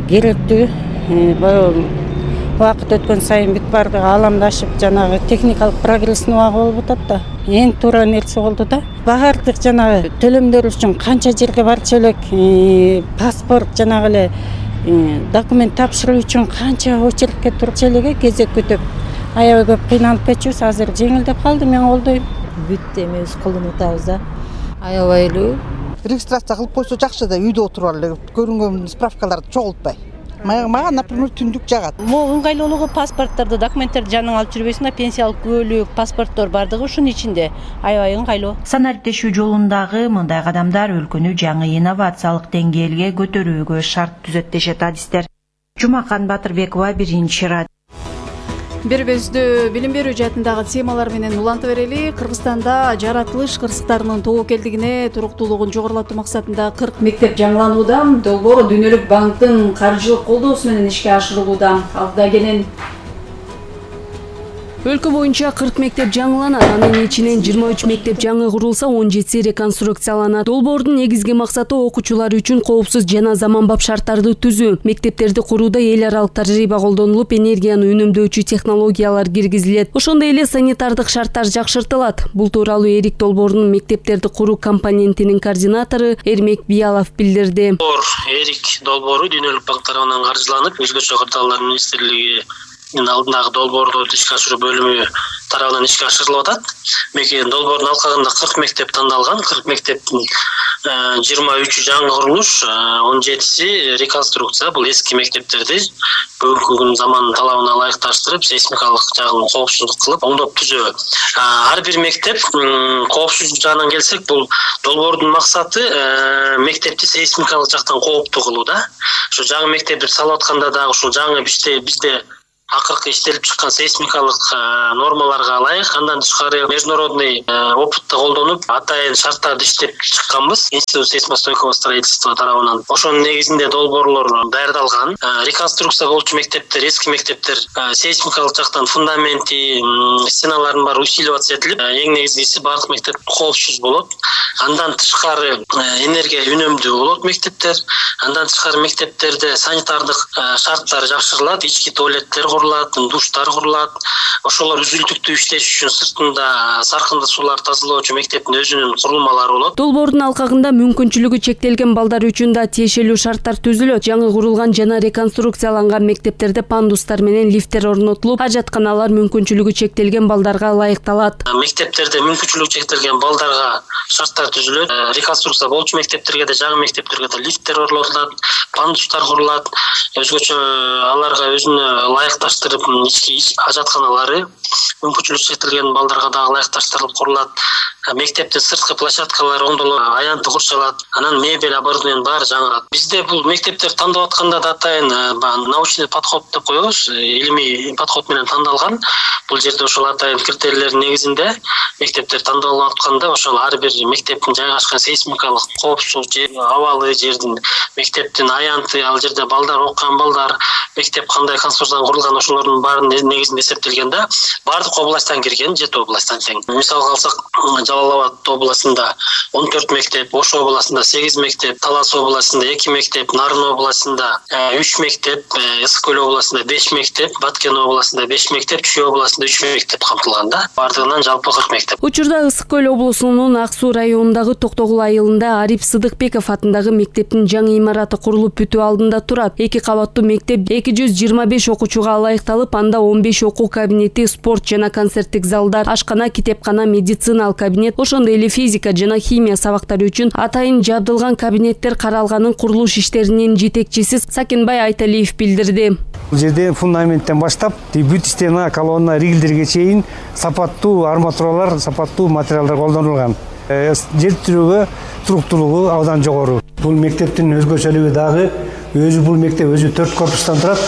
Керектүү убакыт өткөн сайын бүт баардыгы ааламдашып, жанагы техникалык прогресстин убагы болуп атат да. Эң туура нерсе болду да. Баардык жанагы төлөмдөр үчүн канча жерге барчу элек, паспорт жанагы эле документ тапшыруу үчүн канча очередке турчу элеге кезек күтүп, аябай көп кыйналып кетчүбүз. Азыр жеңилдеп калды, мен колдойм. Бүт эми өз колдонуп атабыз да. Аябай эле регистрация кылып койсо жакшы да, үйдө отуруп эле көрүнгөн справкаларды чогултпай. Мага, например, түндүк жагат. Могу ыңгайлуулугу паспортторду, документтерди жаныңа алып жүрбөйсүң да, пенсиялык күбөлүк, паспорттор бардыгы ушунун ичинде. Аябай ыңгайлуу. Санариптешүү жолундагы мындай кадамдар өлкөнү жаңы инновациялык деңгээлге көтөрүүгө шарт түзөт дешет адистер. Жумакан Батырбекова, биринчи радио. Бербездүү билим берүү жаатындагы темалар менен улантып берели. Кыргызстанда жаратылыш кырсыктарынын тобокелдигине туруктуулугун жогорулатуу максатында кырк мектеп жаңыланууда. Долбоор Дүйнөлүк банктын каржылык колдоосу менен ишке ашырылууда. Алда кенен өлкө боюнча кырк мектеп жаңыланат. Анын ичинен жыйырма үч мектеп жаңы курулса, он жетиси реконструкцияланат. Долбоордун негизги максаты окуучулар үчүн коопсуз жана заманбап шарттарды түзүү. Мектептерди курууда эл аралык тажрыйба колдонулуп, энергияны үнөмдөөчү технологиялар киргизилет. Ошондой эле санитардык шарттар жакшыртылат. Бул тууралуу Эрик долбоорунун мектептерди куруу компонентинин координатору Эрмек Биялов билдирди. Эрик долбоору Дүйнөлүк банк тарабынан каржыланып, өзгөчө кырдаалдар министрлиги алдындагы долбоорду ишке ашыруу бөлүмү тарабынан ишке ашырылып атат. Мекен долбоордун алкагында кырк мектеп тандалган. кырк мектептин жыйырма үчү жаңы курулуш, он жетиси реконструкция. Бул эски мектептерди бүгүнкү күн заманын талабына ылайыкташтырып, сейсмикалык жагын коопсуздук кылып, оңдоп түзөө. Ар бир мектеп коопсуздук жагынан келсек, бул долбоордун максаты мектепти сейсмикалык жактан кооптуу кылуу да. Ушу жаңы мектепти салып атканда дагы ушул жаңы бизде бизде акыркы иштелип чыккан сейсмикалык нормаларга ылайык, андан тышкары международный опытты колдонуп, атайын шарттарды иштеп чыкканбыз. Институт сейсмостойкого строительства тарабынан. Ошонун негизинде долбоорлор даярдалган. Реконструкция болчу мектептер, эски мектептер сейсмикалык жактан фундаменти, стеналарын баары усиливаться этилип, эң негизгиси бардык мектеп коопсуз болот. Андан тышкары энергия үнөмдүү болот мектептер. Андан тышкары мектептерде санитардык шарттар жакшырылат, ички туалеттер курулат, душтар курулат. Ошолор үзүлтүктүү иштеш үчүн сыртында саркынды суулар тазалоочу мектептин өзүнүн курулмалары болот. Долбоордун алкагында мүмкүнчүлүгү чектелген балдар үчүн да тиешелүү шарттар түзүлөт. Жаңы курулган жана реконструкцияланган мектептерде пандустар менен лифттер орнотулуп, ажатканалар мүмкүнчүлүгү чектелген балдарга ылайыкталат. Мектептерде мүмкүнчүлүгү чектелген балдарга шарттар түзүлөт. Реконструкция болчу мектептерге да, жаңы мектептерге да лифттер орнотулат, пандустар курулат. Өзгөчө аларга өзүнө ылайыкташтырып, ички ажатканалары мүмкүнчүлүгү чектелген балдарга да ылайыкташтырылып курулат. Мектептин сырткы площадкалары оңдолуп, аянты курчалат. Анан мебель оборудованиянын баары жаңырат. Бизде бул мектептер тандап атканда да атайын научный подход деп коебуз, илимий подход менен тандалган. Бул жерде ошол атайын критерийлердин негизинде мектептер тандалып атканда, ошол ар бир мектептин жайгашкан сейсмикалык коопсуз жер, абалы жердин, мектептин аянты, ал жерде балдар окуган балдар, мектеп кандай конструкциядан курулган, ошолордун баарынын негизинде эсептелген да, бардык областтан кирген, жети областтан тең. Мисалга алсак, Жалал Абад областында он төрт мектеп, Ош областында сегиз мектеп, Талас областында эки мектеп, Нарын областында үч мектеп, Ысык Көл областында беш мектеп, Баткен областында беш мектеп, Чүй областында үч мектеп камтылган да. Бардыгынан жалпы кырк мектеп. Учурда Ысык Көл облусунун Ак Суу районундагы Токтогул айылында Ариф Сыдыкбеков атындагы мектептин жаңы имараты курулуп бүтүү алдында турат. Эки кабаттуу мектеп эки жүз жыйырма беш окуучуга ылайыкталып, анда он беш окуу кабинети, спорт жана концерттик залдар, ашкана, китепкана, медициналык кабинет, ошондой эле физика жана химия сабактары үчүн атайын жабдылган кабинеттер каралганын курулуш иштеринин жетекчиси Сакенбай Айталиев билдирди. Бул жерде фундаменттен баштап бүт стена, колонна, ригелдерге чейин сапаттуу арматуралар, сапаттуу материалдар колдонулган. Жер тирөөгө туруктуулугу абдан жогору. Бул мектептин өзгөчөлүгү дагы өзү бул мектеп өзү төрт корпустан турат,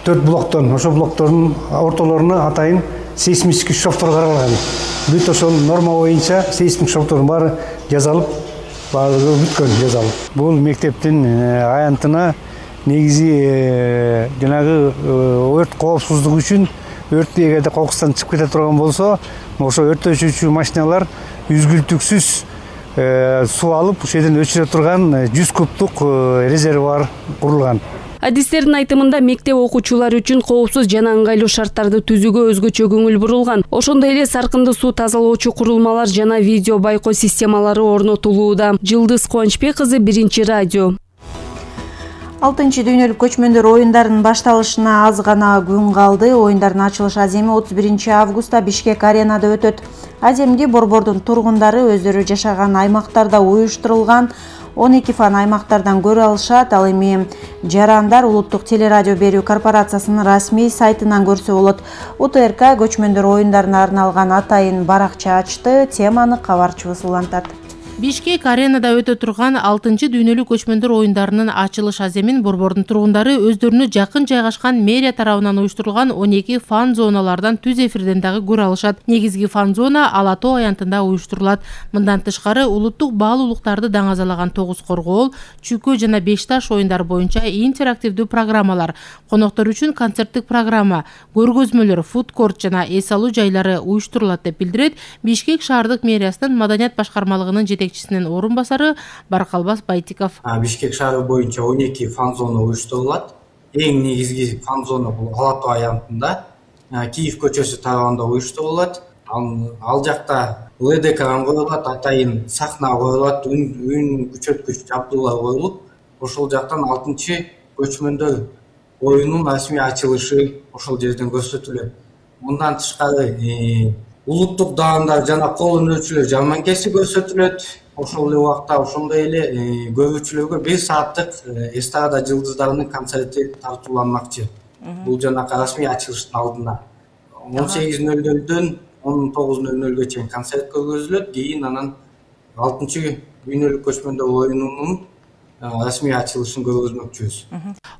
төрт блоктон. Ошол блоктордун ортолоруна атайын сейсмический шовтор каралган. Бүт ошол норма боюнча сейсмик шовтордун баары жасалып, баардыгы бүткөн жасалып. Бул мектептин аянтына негизи жанагы өрт коопсуздугу үчүн, өрт эгерде кокустан чыгып кете турган болсо, ошо өрттөчүчү машиналар үзгүлтүксүз суу алып, ошол жерден өчүрө турган жүз кубтук резервуар курулган. Адистердин айтымында мектеп окуучулары үчүн коопсуз жана ыңгайлуу шарттарды түзүүгө өзгөчө көңүл бурулган. Ошондой эле саркынды суу тазалоочу курулмалар жана видео байкоо системалары орнотулууда. Жылдыз Кубанычбек кызы, биринчи радио. алтынчы дүйнөлүк көчмөндөр оюндарынын башталышына аз гана күн калды. Оюндардын ачылыш аземи отуз биринчи августта Бишкек аренада өтөт. Аземди борбордун тургундары өздөрү жашаган аймактарда уюштурулган он эки фан аймактардан көрө алышат. Ал эми жарандар улуттук телерадио берүү корпорациясынын расмий сайтынан көрсө болот. У Т Р К көчмөндөр оюндарына арналган атайын баракча ачты. Теманы кабарчыбыз улантат. Бишкек аренада өтө турган алтынчы дүйнөлүк көчмөндөр оюндарынын ачылыш аземин Борбордун тургундары өздөрүнө жакын жайгашкан мэрия тарабынан уюштурулган он эки фан зоналардан түз эфирден дагы көрө алышат. Негизги фан зона Ала Тоо аянтында уюштурулат. Мындан тышкары улуттук баалуулуктарды даңазалаган тогуз коргоол, чүкө жана беш таш оюндар боюнча интерактивдүү программалар, коноктор үчүн концерттик программа, көргөзмөлөр, фудкорт жана эс алуу жайлары уюштурулат деп билдирет Бишкек шаардык мэриясынын маданият башкармалыгынын жетекчисинин орун басары Баркалбас Байтиков. Бишкек шаары боюнча он эки фан зона уюштурулат. Эң негизги фан зона бул Ала Тоо аянтында, Киев көчөсү тарабында уюштурулат. Ал жакта эл ди экран коюлат, атайын сахна коюлат, үн күчөткүч жабдуулар коюлуп, ошол жактан алтынчы көчмөндөр оюнунун расмий ачылышы ошол жерден көрсөтүлөт. Мындан тышкары улуттук даамдар жана кол өнөрчүлөр жарманкеси көрсөтүлөт. Ошол эле убакта ошондой эле көрүүчүлөргө бир сааттык эстрада жылдыздарынын концерти тартууланмакчы. Бул жанакы расмий ачылыштын алдында он сегиз нөл нөлдөн он тогуз нөл нөлгө чейин концерт көргөзүлөт. Кийин анан алтынчы дүйнөлүк көчмөндөр оюнунун расмий ачылышын көргөзмөкчүбүз.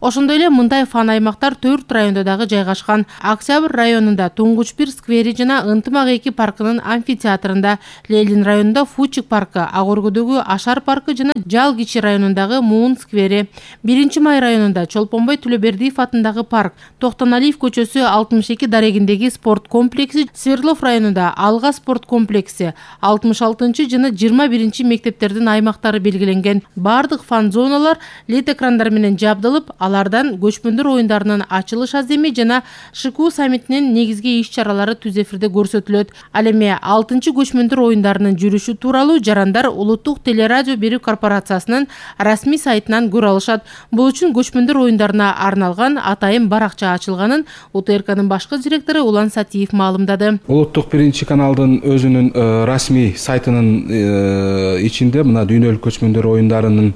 Ошондой эле мындай фан аймактар төрт райондо дагы жайгашкан. Октябрь районунда Туңгуч бир сквери жана Ынтымак эки паркынын амфитеатрында, Лелин районунда Фучик паркы, Ак Өргөдөгү Ашар паркы жана Жал Кичи районундагы Муун сквери, биринчи май районунда Чолпонбой Төлөбердиев атындагы парк, Токтоналиев көчөсү алтымыш эки дарегиндеги спорт комплекси, Свердлов районунда Алга спорт комплекси, алтымыш алтынчы жана жыйырма биринчи мектептердин аймактары белгиленген. Бардык фан зоналар лед экрандар менен жабдылып, алардан көчмөндөр оюндарынын ачылыш аземи жана ШКУ саммитинин негизги иш-чаралары түз эфирде көрсөтүлөт. Ал эми алтынчы көчмөндөр оюндарынын жүрүшү тууралуу жарандар Улуттук телерадио берүү корпорациясынын расмий сайтынан көрө алышат. Бул үчүн көчмөндөр оюндарына арналган атайын баракча ачылганын У Т Р К'нын башкы директору Улан Сатиев маалымдады. Улуттук биринчи каналдын өзүнүн расмий сайтынын ичинде мына дүйнөлүк көчмөндөр оюндарынын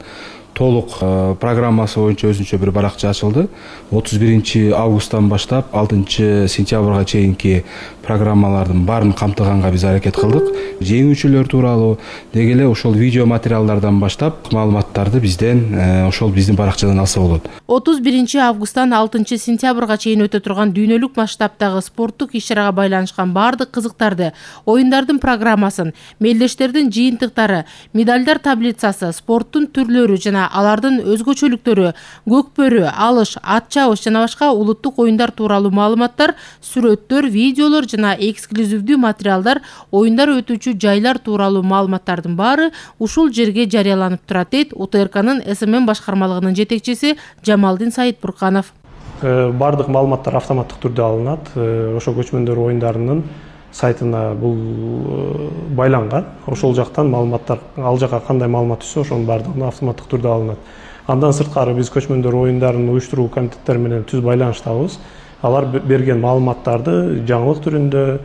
толук программасы боюнча өзүнчө бир баракча ачылды. отуз биринчи августтан баштап алтынчы сентябрга чейинки программалардын баарын камтыганга биз аракет кылдык. Жеңүүчүлөр тууралуу деги эле ошол видео материалдардан баштап маалыматтарды бизден ошол биздин баракчадан алса болот. отуз биринчи августтан алтынчы сентябрга чейин өтө турган дүйнөлүк масштабтагы спорттук иш-чарага байланышкан баардык кызыктарды, оюндардын программасын, мелдештердин жыйынтыктары, медалдар таблицасы, спорттун түрлөрү жана алардын өзгөчөлүктөрү, көкбөрү, алыш, ат чабыш жана башка улуттук оюндар тууралуу маалыматтар, сүрөттөр, видеолор жана эксклюзивдүү материалдар, оюндар өтүүчү жайлар тууралуу маалыматтардын баары ушул жерге жарыяланып турат дейт У Т Р К'нын С М М башкармалыгынын жетекчиси Жамалдин Саитбурканов. Бардык маалыматтар автоматтык түрдө алынат. Ошо көчмөндөр оюндарынын сайтына бул байланган. Ошол жактан маалыматтар, ал жака кандай маалымат түшсө, ошонун баардыгы автоматтык түрдө алынат. Андан сырткары биз көчмөндөр оюндарын уюштуруу комитеттери менен түз байланыштабыз. Алар берген маалыматтарды жаңылык түрүндө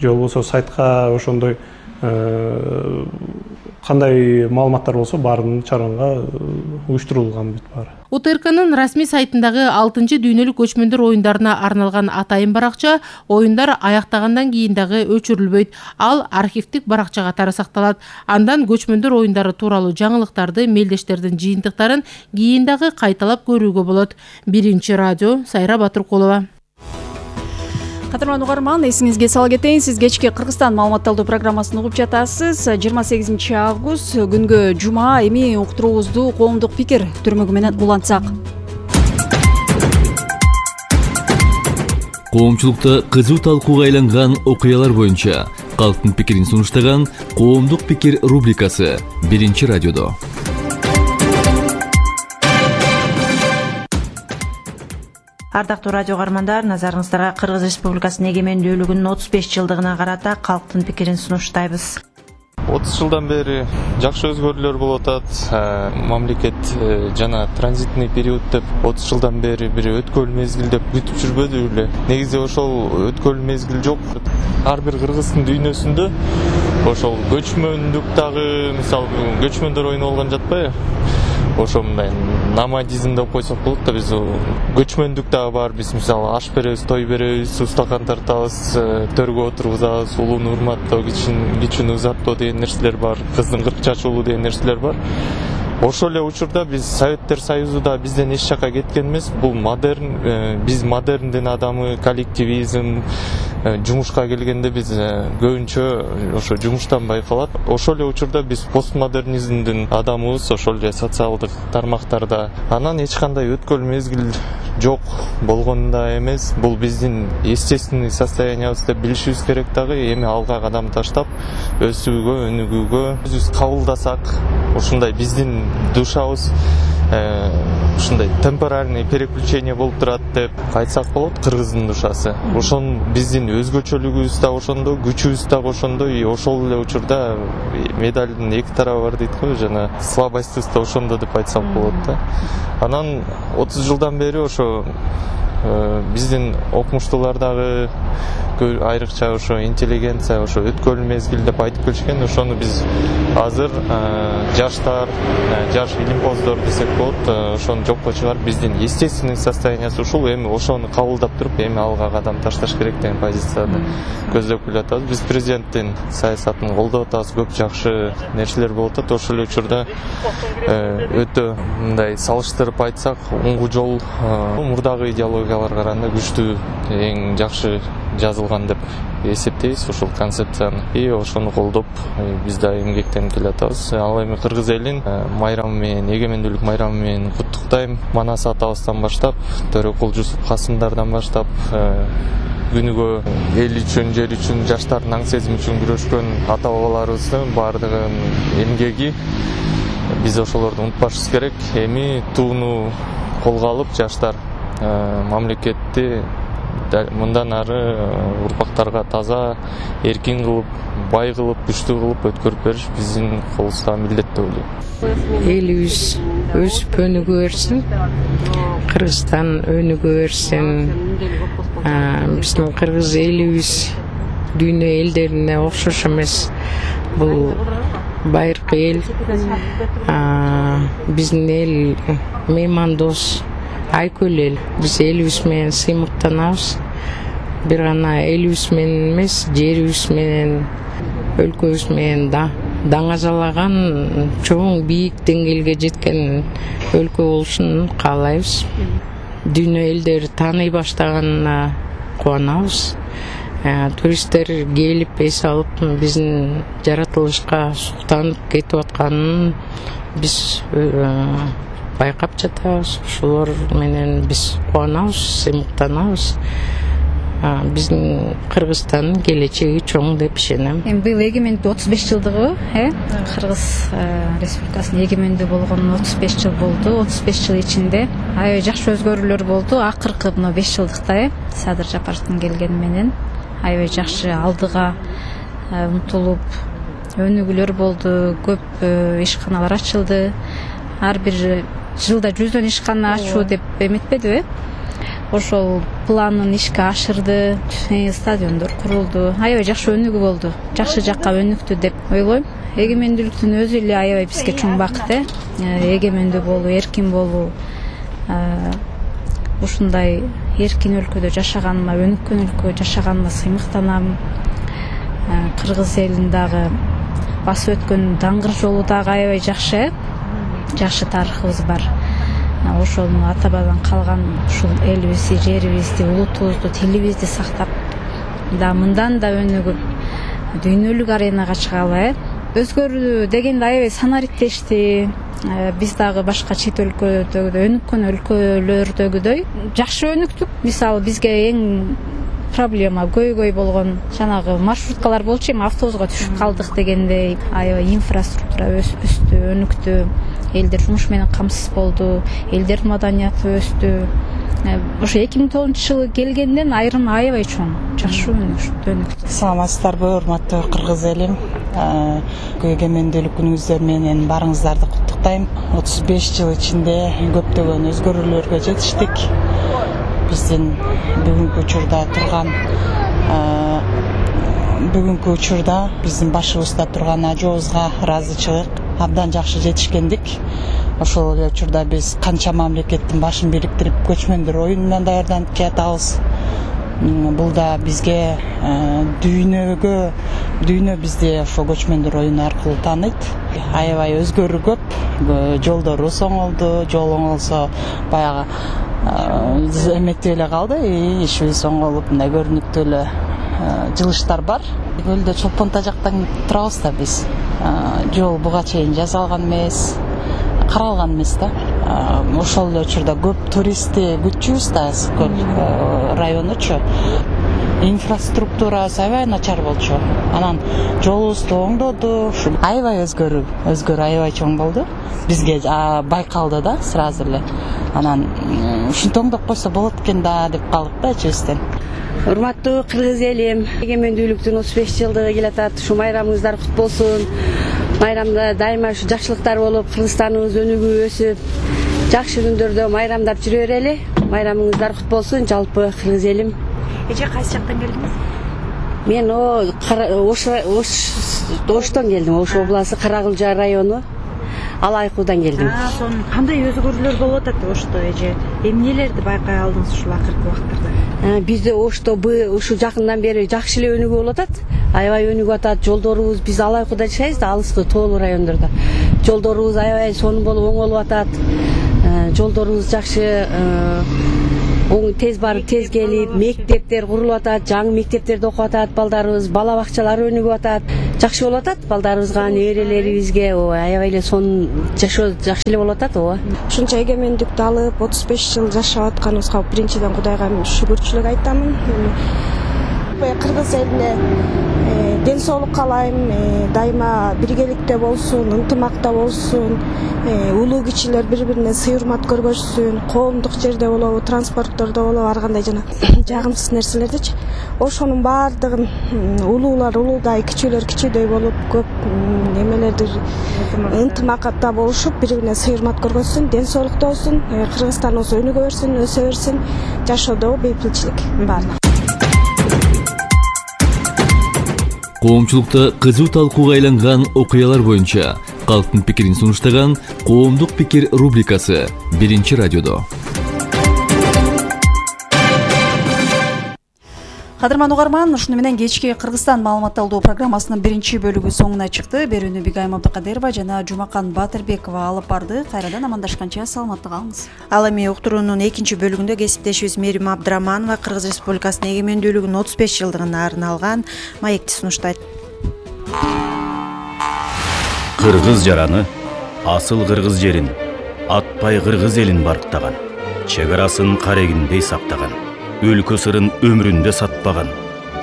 же болбосо сайтка ошондой кандай маалыматтар болсо баарын чараңга уюштурулган бүт баары. У Т Р К'нын расмий сайтындагы алтынчы дүйнөлүк көчмөндөр оюндарына арналган атайын баракча оюндар аяктагандан кийин дагы өчүрүлбөйт. Ал архивдик баракча катары сакталат. Андан көчмөндөр оюндары тууралуу жаңылыктарды, мелдештердин жыйынтыктарын кийин дагы кайталап көрүүгө болот. Биринчи радио, Сайра Батыркулова. Кадырлан угарман, эсиңизге сала кетейин, сиз кечки Кыргызстан маалыматталдуу программасын угуп жатасыз. жыйырма сегизинчи август күнгө жума, эми уктуруубузду коомдук пикир түрмөгү менен улантсак. Коомчулукта кызуу талкууга айланган окуялар боюнча калктын пикирин сунуштаган коомдук пикир рубрикасы биринчи радиодо. Ардактуу радио угармандар, назарыңыздарга Кыргыз Республикасынын эгемендүүлүгүнүн отуз беш жылдыгына карата калктын пикирин сунуштайбыз. отуз жылдан бери жакшы өзгөрүүлөр болуп атат. Мамлекет жана транзитный период деп отуз жылдан бери бир өткөл мезгил деп күтүп жүрбөдү беле. Негизи ошол өткөл мезгил жок. Ар бир кыргыздын дүйнөсүндө ошол көчмөндүк дагы, мисалы, көчмөндөр оюну болгон жатпайбы? ошо мындай номадизм деп койсок болот да. Биз көчмөндүк дагы бар. Биз мисалы аш беребиз, той беребиз, устакан тартабыз, төргө отургузабыз, улууну урматтоо, кичүүнү узаттоо деген нерселер бар. Кыздын кырк чачуулу деген нерселер бар. Ошол эле учурда биз Советтер Союзу да бизден эч жакка кеткен эмес. Бул модерн, биз модерндин адамы, коллективизм, жумушка келгенде биз көбүнчө ошо жумуштан байкалат. Ошол эле учурда биз постмодернизмдин адамыбыз, ошол эле социалдык тармактарда. Анан эч кандай өткөл мезгил жок болгон да эмес. Бул биздин естественный состояниябыз деп билишибиз керек дагы. Эми алга кадам таштап өсүүгө, өнүгүүгө өзүбүз кабылдасак, ушундай биздин душабыз ушундай темпоральный переключение болуп турат деп айтсак болот. Кыргыздын душасы ошон биздин өзгөчөлүгүбүз да ошондо, күчүбүз да ошондо. И ошол эле учурда медалдын эки тарабы бар дейт го, жана слабостьбыз да ошондо деп айтсак болот да. Анан отуз жылдан бери ошо биздин окумуштуулар дагы айрыкча ошо интеллигенция, ошо өткөл мезгил деп айтып келишкен. Ошону биз азыр жаштар, жаш илимпоздор десек болот, ошону жокко чыгарып биздин естественный состояниясы ушул. Эми ошону кабылдап туруп, эми алга кадам ташташ керек деген позицияны көздөп келатабыз. Биз президенттин саясатын колдоп атабыз. Көп жакшы нерселер болуп атат. Ошол эле учурда өтө мындай салыштырып айтсак, оңгу жол мурдагы идеологияларга караганда күчтүү, эң жакшы жазылган деп эсептейбиз ушул концепцияны. И ошону колдоп биз да эмгектенип келатабыз. Ал эми кыргыз элин майрамы менен, эгемендүүлүк майрамы менен куттуктайм. Манас атабыздан баштап, Төрөкул Жусуп Касымдардан баштап күнүгө эл үчүн, жер үчүн, жаштардын аң сезими үчүн күрөшкөн ата бабаларыбыздын баардыгынын эмгеги, биз ошолорду унутпашыбыз керек. Эми тууну колго алып, жаштар мамлекетти мындан ары урпактарга таза, эркин кылып, бай кылып, күчтүү кылып өткөрүп бериш биздин колубузда милдет деп ойлойм. Элибиз өсүп өнүгө берсин, Кыргызстан өнүгө берсин. Биздин кыргыз элибиз дүйнө элдерине окшош эмес. Бул байыркы эл. Биздин эл меймандос, айкөл эл. Биз элибиз менен сыймыктанабыз. Бир гана элибиз менен эмес, жерибиз менен, өлкөбүз менен да даңазалаган, чоң бийик деңгээлге жеткен өлкө болушун каалайбыз. Дүйнө элдери тааный баштаганына кубанабыз. Туристтер келип эс алып, биздин жаратылышка суктанып кетип атканын биз байкап жатабыз. Ошолор менен биз кубанабыз, сыймыктанабыз. Биздин Кыргызстандын келечеги чоң деп ишенем. Эми быйыл эгемендүү отуз беш жылдыгы, э? Кыргыз Республикасынын эгемендүү болгонуна отуз беш жыл болду. отуз беш жыл ичинде аябай жакшы өзгөрүүлөр болду. Акыркы мына беш жылдыкта, э? Садыр Жапаровдун келгени менен аябай жакшы алдыга умтулуп өнүгүүлөр болду. Көп ишканалар ачылды. Ар бир жылда жүздөн ишкана ачуу деп эметпедиби? Ошол планын ишке ашырды, стадиондор курулду. Аябай жакшы өнүгүү болду. Жакшы жакка өнүктү деп ойлойм. Эгемендүүлүктүн өзү эле аябай бизге чоң бакыт, э? Эгемендүү болуу, эркин болуу. Ушундай эркин өлкөдө жашаганыма, өнүккөн өлкөдө жашаганыма сыймыктанам. Кыргыз элин дагы басып өткөн даңгыр жолу дагы аябай жакшы, э? Жакшы тарыхыбыз бар. Ошону ата бабадан калган ушул элибизди, жерибизди, улутубузду, тилибизди сактап, да мындан да өнүгүп, дүйнөлүк аренага чыгалы, э? Өзгөрүү дегенде аябай санариктешти. Биз дагы башка чет өлкөдөгүдөй, өнүккөн өлкөлөрдөгүдөй жакшы өнүктүк. Мисалы бизге эң проблема көйгөй болгон жанагы маршруткалар болчу, эми автобуска түшүп калдык дегендей. Аябай инфраструктура өстү, өнүктү. Элдер жумуш менен камсыз болду, элдердин маданияты өстү. Ошо эки миң тогузунчу жылы келгенден айрым аябай чоң, жакшы өнүктү. Саламатсыздарбы, урматтуу кыргыз элим. Эгемендүүлүк күнүңүздөр менен барыңыздарды куттуктайм. отуз беш жыл ичинде көптөгөн өзгөрүүлөргө жетиштик. Биздин бүгүнкү учурда турган бүгүнкү учурда биздин башыбызда турган ажообузга ыраазычылык. абдан жакшы жетишкендик. Ошол эле учурда биз канча мамлекеттин башын бириктирип көчмөндөр оюнунан даярданып келатабыз. Бул да бизге дүйнөгө дүйнө бизди ошо көчмөндөр оюну аркылуу тааныйт. Аябай өзгөрүү көп, жолдорубуз оңолду, жол оңолсо баягы эметип эле калды, ишибиз оңолуп, мындай көрүнүктүү эле жылыштар бар. Көлдө Чолпон тажактан турабыз да биз. Жол буга чейин жасалган эмес, каралган эмес да. Ошол эле учурда көп туристти күтчүбүз да Көл районучу. Инфраструктурасы аябай начар болчу. Анан жолубузду оңдоду. Аябай өзгөрүү, өзгөрүү аябай чоң болду. Бизге байкалды да сразу эле. Анан ушинтип оңдоп койсо болот экен да деп калдык да ичибизден. Урматтуу кыргыз элим, эгемендүүлүктүн отуз беш жылдыгы келатат. Ушу майрамыңыздар кут болсун. Майрамда дайыма ушу жакшылыктар болуп, Кыргызстаныбыз өнүгүп өсүп, жакшы күндөрдө майрамдап жүрө берели. Майрамыңыздар кут болсун, жалпы кыргыз элим. Эже кайсы жактан келдиңиз? Мен Ош Оштон келдим. Ош областы Каракылжа району Алайкуудан келдим. Сонун кандай өзгөрүүлөр болуп атат Ошто эже? Эмнелерди байкай алдыңыз ушул акыркы убакыттарда? Бизде Ошто ушу жакындан бери жакшы эле өнүгүп болуп атат. Аябай өнүгүп атат. Жолдорубуз биз Алайкууда жашайбыз да, алыскы тоолуу райондордо. Жолдорубуз аябай сонун болуп оңолуп атат. Жолдорубуз жакшы, оң тез барып тез келип, мектептер курулуп атат, жаңы мектептерде окуп атат балдарыбыз, бала бакчалар өнүгүп атат. Жакшы болуп атат балдарыбызга, неберелерибизге, аябай эле сонун жашоо жакшы эле болуп атат, ооба. Ушунча эгемендикти алып, отуз беш жыл жашап атканыбызга биринчиден Кудайга шүгүрчүлүк айтамын. Кыргыз элине ден соолук каалайм, дайыма биргеликте болсун, ынтымакта болсун, улуу кичилер бири-бирине сый урмат көргөзсүн, коомдук жерде болобу, транспорттордо болобу, ар кандай жана жагымсыз нерселердичи. Ошонун баардыгын улуулар улуудай, кичүүлөр кичүүдөй болуп, көп немелерди ынтымакта болушуп, бири-бирине сый урмат көргөзсүн, ден соолукта болсун, Кыргызстаныбыз өнүгө берсин, өсө берсин, жашоодо бейпилчилик баардыгы. Коомчулукта кызуу талкууга айланган окуялар боюнча калктын пикирин сунуштаган Коомдук пикир рубрикасы биринчи радиодо. Кадырман угарман, ушуну менен кечки Кыргызстан маалымат алуу программасынын биринчи бөлүгү соңуна чыкты. Берүүнү Бигайым Абдыкадырова жана Жумакан Батырбекова алып барды. Кайрадан амандашканча саламатта калыңыз. Ал эми уктуруунун экинчи бөлүгүндө кесиптешибиз Мерим Абдыраманова Кыргыз Республикасынын эгемендүүлүгүнүн отуз беш жылдыгына арналган маекти сунуштайт. Кыргыз жараны асыл кыргыз жерин, атпай кыргыз элин барктаган, чек арасын карегиндей сактаган, өлкө сырын өмүрүндө сатпаган,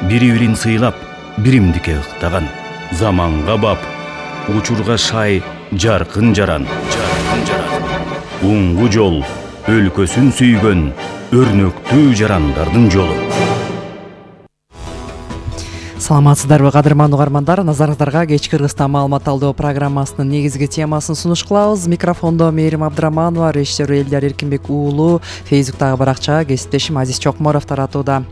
бири-бирин сыйлап, биримдикке ыктаган, заманга бап, учурга шай, жаркын жаран, жаркын жаран. Уңгу жол, өлкөсүн сүйгөн, өрнөктүү жарандардын жолу. Саламатсыздарбы кадырман угармандар, назарыңыздарга кечки Кыргызстан маалымат алуу программасынын негизги темасын сунуш кылабыз. Микрофондо Мерим Абдыраманова, режиссер Элдар Эркинбек уулу, Фейсбуктагы баракча кесиптешим Азиз Чокморов таратууда.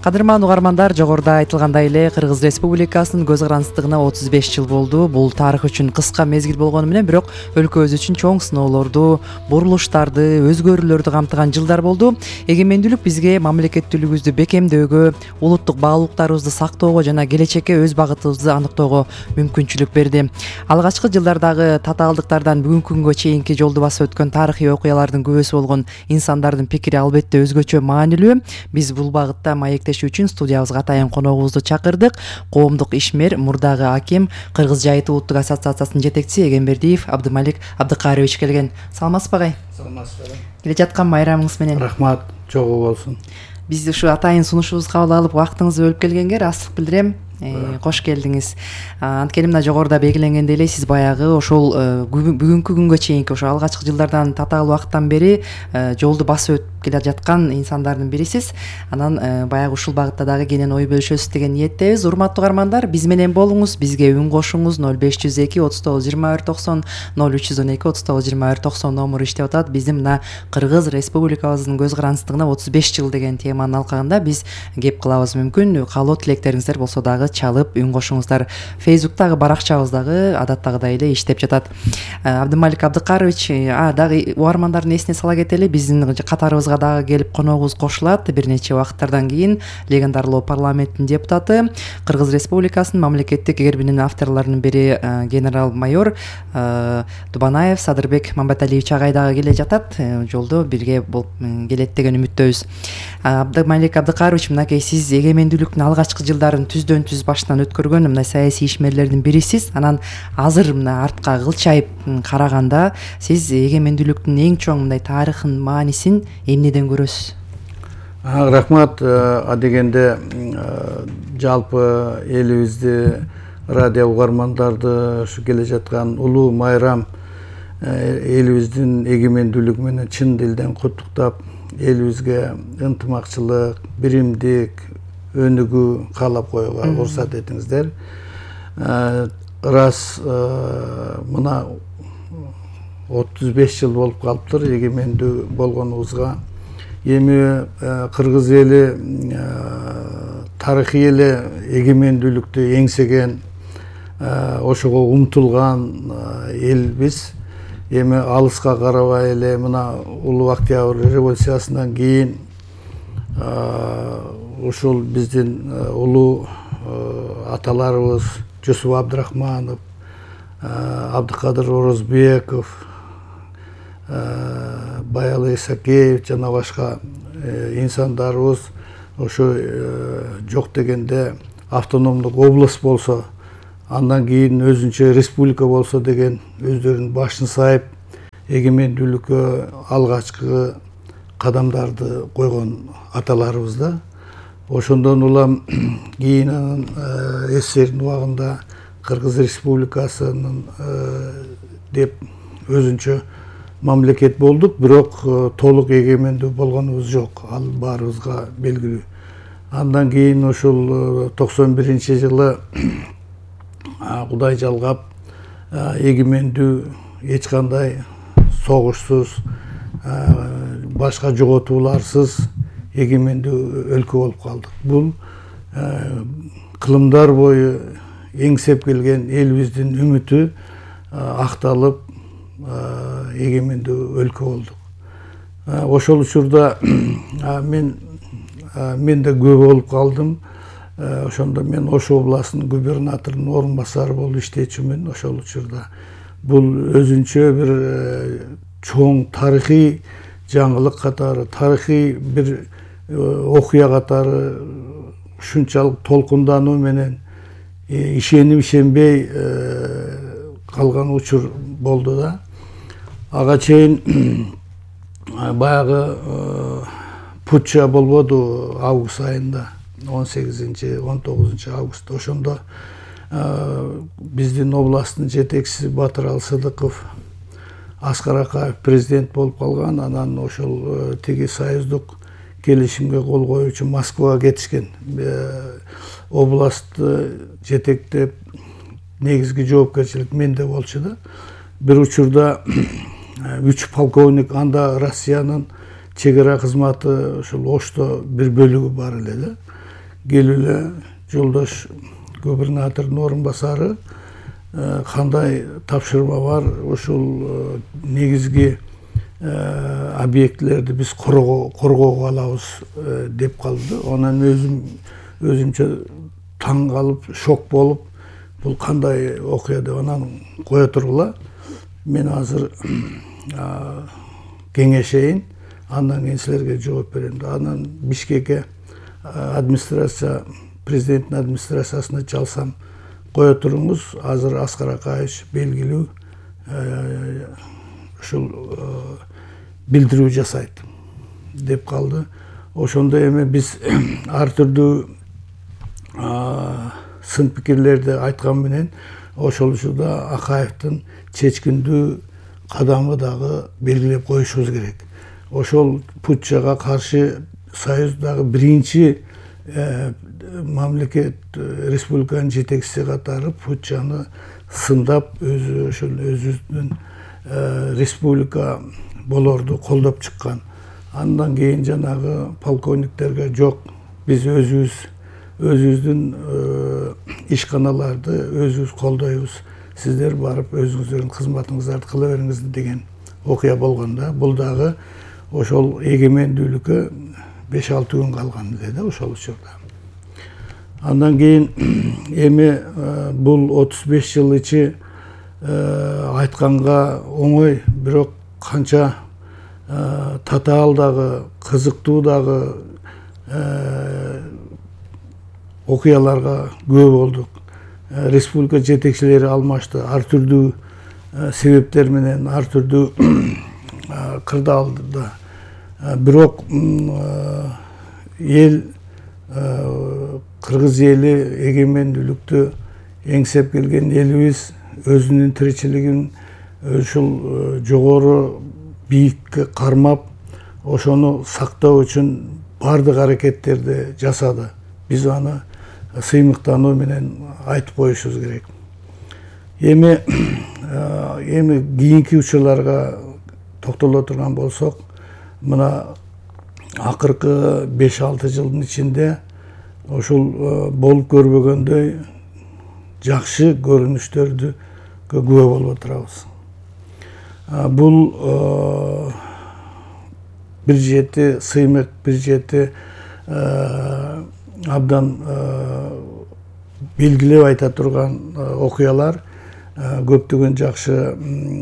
Кадырман угармандар, жогоруда айтылгандай эле Кыргыз Республикасынын көз карандысыздыгына отуз беш жыл болду. Бул тарых үчүн кыска мезгил болгону менен бирок өлкөбүз үчүн чоң сыноолорду, бурулуштарды, өзгөрүүлөрдү камтыган жылдар болду. Эгемендүүлүк бизге мамлекеттүүлүгүбүздү бекемдөөгө, улуттук баалуулуктарыбызды сактоого жана келечекке өз багытыбызды аныктоого мүмкүнчүлүк берди. Алгачкы жылдардагы татаалдыктардан бүгүнкү күнгө чейинки жолду басып өткөн тарыхый окуялардын күбөсү болгон инсандардын пикири албетте өзгөчө маанилүү. Биз бул багытта маектешүү үчүн студиябызга атайын коногубузду чакырдык. Коомдук ишмер, мурдагы аким, Кыргыз жайыт улуттук ассоциациясынын жетекчиси Эгембердиев Абдымалик Абдыкарович келген. Саламатсызбы агай? Саламатсызбы. Келе жаткан майрамыңыз менен. Рахмат, чогуу болсун. Биз ушу атайын сунушубузду кабыл алып, убактыңызды бөлүп келгенге ырайсыздык билдирем. Кош келдиңиз. Анткени мына жогоруда белгиленгендей эле сиз баягы ошол бүгүнкү күнгө чейинки ошо алгачкы жылдардан татаал убакыттан бери жолду басып өтүп келе жаткан инсандардын бирисиз. Анан баягы ушул багытта дагы кенен ой бөлүшөсүз деген ниеттебиз. Урматтуу угармандар, биз менен болуңуз, бизге үн кошуңуз. ноль беш жүз эки отуз тогуз жыйырма бир токсон, ноль үч жүз он эки отуз тогуз жыйырма бир токсон номуру иштеп атат. Биздин мына Кыргыз Республикабыздын көз карандысыздыгына отуз беш жыл деген теманын алкагында биз кеп кылабыз мүмкүн. Каалоо тилектериңиздер болсо дагы чалып үн кошуңуздар. Фейсбуктагы баракчабыздагы адаттагыдай эле иштеп жатат. Абдымалик Абдыкарович, а дагы угармандардын эсине сала кетели, биздин катарыбызга дагы келип коногубуз кошулат. Бир нече убакыттардан кийин легендарлуу парламенттин депутаты, Кыргыз Республикасынын мамлекеттик гербинин авторлорунун бири генерал-майор Дубанаев Садырбек Мамбаталиевич агай дагы келе жатат. Жолдо бирге болуп келет деген үмүттөбүз. Абдымалик Абдыкарович, мынакей сиз эгемендүүлүктүн алгачкы жылдарын түздөн түз башынан өткөргөн мына саясий ишмерлердин бирисиз. Анан азыр мына артка кылчайып караганда сиз эгемендүүлүктүн эң чоң мындай тарыхын, маанисин эмнеден көрөсүз? Рахмат. А дегенде жалпы элибизди, радио угармандарды ушу келе жаткан улуу майрам элибиздин эгемендүүлүгү менен чын дилден куттуктап, элибизге ынтымакчылык, биримдик, өнүгүү каалап коюуга уруксат этиңиздер. Рас мына отуз беш жыл болуп калыптыр эгемендүү болгонубузга. Эми кыргыз эли тарыхый эле эгемендүүлүктү эңсеген, ошого умтулган элбиз. Эми алыска карабай эле мына улуу Октябрь революциясынан кийин ушул биздин улуу аталарыбыз Жусуп Абдрахманов, Абдыкадыр Орозбеков, Баялы Исакеев жана башка инсандарыбыз ошо жок дегенде автономдук область болсо, андан кийин өзүнчө республика болсо деген өздөрүнүн башын сайып эгемендүүлүккө алгачкы кадамдарды койгон аталарыбыз да. Ошондон улам кийин анан СССРдин убагында Кыргыз Республикасынын деп өзүнчө мамлекет болдук, бирок толук эгемендүү болгонубуз жок. Ал баарыбызга белгилүү. Андан кийин ушул токсон биринчи жылы Кудай жалгап эгемендүү эч кандай согушсуз, башка жоготууларсыз эгемендүү өлкө болуп калдык. Бул кылымдар бою эңсеп келген элибиздин үмүтү акталып эгемендүү өлкө болдук. Ошол учурда мен мен да көп болуп калдым. Ошондо мен Ош областынын губернаторунун орун басары болуп иштечүмүн ошол учурда. Бул өзүнчө бир чоң тарыхый жаңылык катары, тарыхый бир окуя катары ушунчалык толкундануу менен ишенип ишенбей калган учур болду да. Ага чейин баягы путча болбоду август айында, он сегизинчи он тогузунчу август. Ошондо биздин областтын жетекчиси Батырал Сыдыков, Аскар Акаев президент болуп калган. Анан ошол тиги союздук келишимге кол коюу үчүн Москвага кетишкен. Областты жетектеп негизги жоопкерчилик менде болчу да. Бир учурда үч полковник, анда Россиянын чек ара кызматы ошол Ошто бир бөлүгү бар эле да. Келип эле жолдош губернатордун орун басары, кандай тапшырма бар, ушул негизги объектилерди биз коргоого алабыз деп калды. Анан өзүм өзүмчө таң калып, шок болуп, бул кандай окуя деп анан кое тургула. Мен азыр кеңешейин, андан кийин силерге жооп берем. Анан Бишкекке администрация, президенттин администрациясына чалсам, кое туруңуз, азыр Аскар Акаевич белгилүү ушул билдирүү жасайт деп калды. Ошондо эми биз ар түрдүү сын пикирлерди айткан менен ошол учурда Акаевдин чечкиндүү кадамы дагы белгилеп коюшубуз керек. Ошол путчага каршы союздагы биринчи мамлекет, республиканын жетекчиси катары путчаны сындап, өзү ошол өзүнүн республика болорду колдоп чыккан. Андан кийин жанагы полковниктерге жок, биз өзүбүз өзүбүздүн ишканаларды өзүбүз колдойбуз, сиздер барып өзүңүздөрдүн кызматыңыздарды кыла бериңиз деген окуя болгондо, бул дагы ошол эгемендүүлүккө беш алты күн калган эле да ошол учурда. Андан кийин эми бул отуз беш жыл ичи айтканга оңой, бирок канча татаал дагы, кызыктуу дагы окуяларга күбө болдук. Республика жетекчилери алмашты, ар түрдүү себептер менен, ар түрдүү кырдаалда. Бирок эл, кыргыз эли эгемендүүлүктү эңсеп келген элибиз өзүнүн тиричилигин ушул жогору бийикке кармап, ошону сактоо үчүн бардык аракеттерди жасады. Биз аны сыймыктануу менен айтып коюшубуз керек. Эми эми кийинки учурларга токтоло турган болсок, мына акыркы беш алты жылдын ичинде ушул болуп көрбөгөндөй жакшы көрүнүштөрдү күбө болуп отурабыз. Бул бир жети сыймык, бир жети абдан белгилеп айта турган окуялар, көптөгөн жакшы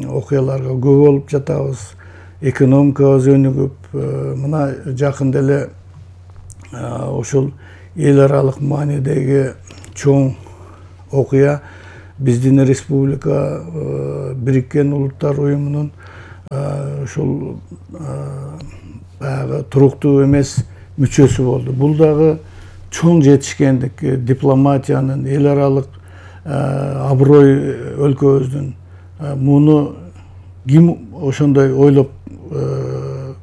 окуяларга күбө болуп жатабыз. Экономикабыз өнүгүп, мына жакында эле ушул эл аралык маанидеги чоң окуя биздин республика Бириккен Улуттар уюмунун ушул баягы туруктуу эмес мүчөсү болду. Бул дагы чоң жетишкендик, дипломатиянын, эл аралык аброй өлкөбүздүн. Муну ким ошондой ойлоп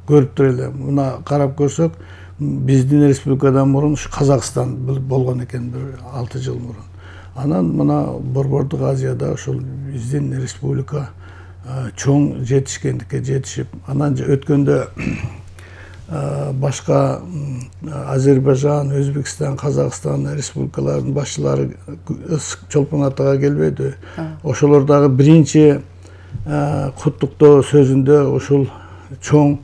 көрүптүр эле. Мына карап көрсөк, биздин республикадан мурун Казакстан болгон экен бир алты жыл мурун. Анан мына Борбордук Азияда ошол биздин республика чоң жетишкендикке жетишип, анан өткөндө башка Азербайжан, Өзбекстан, Казакстан республикаларынын башчылары чолпон атага келбеди. Ошолор дагы биринчи куттуктоо сөзүндө ушул чоң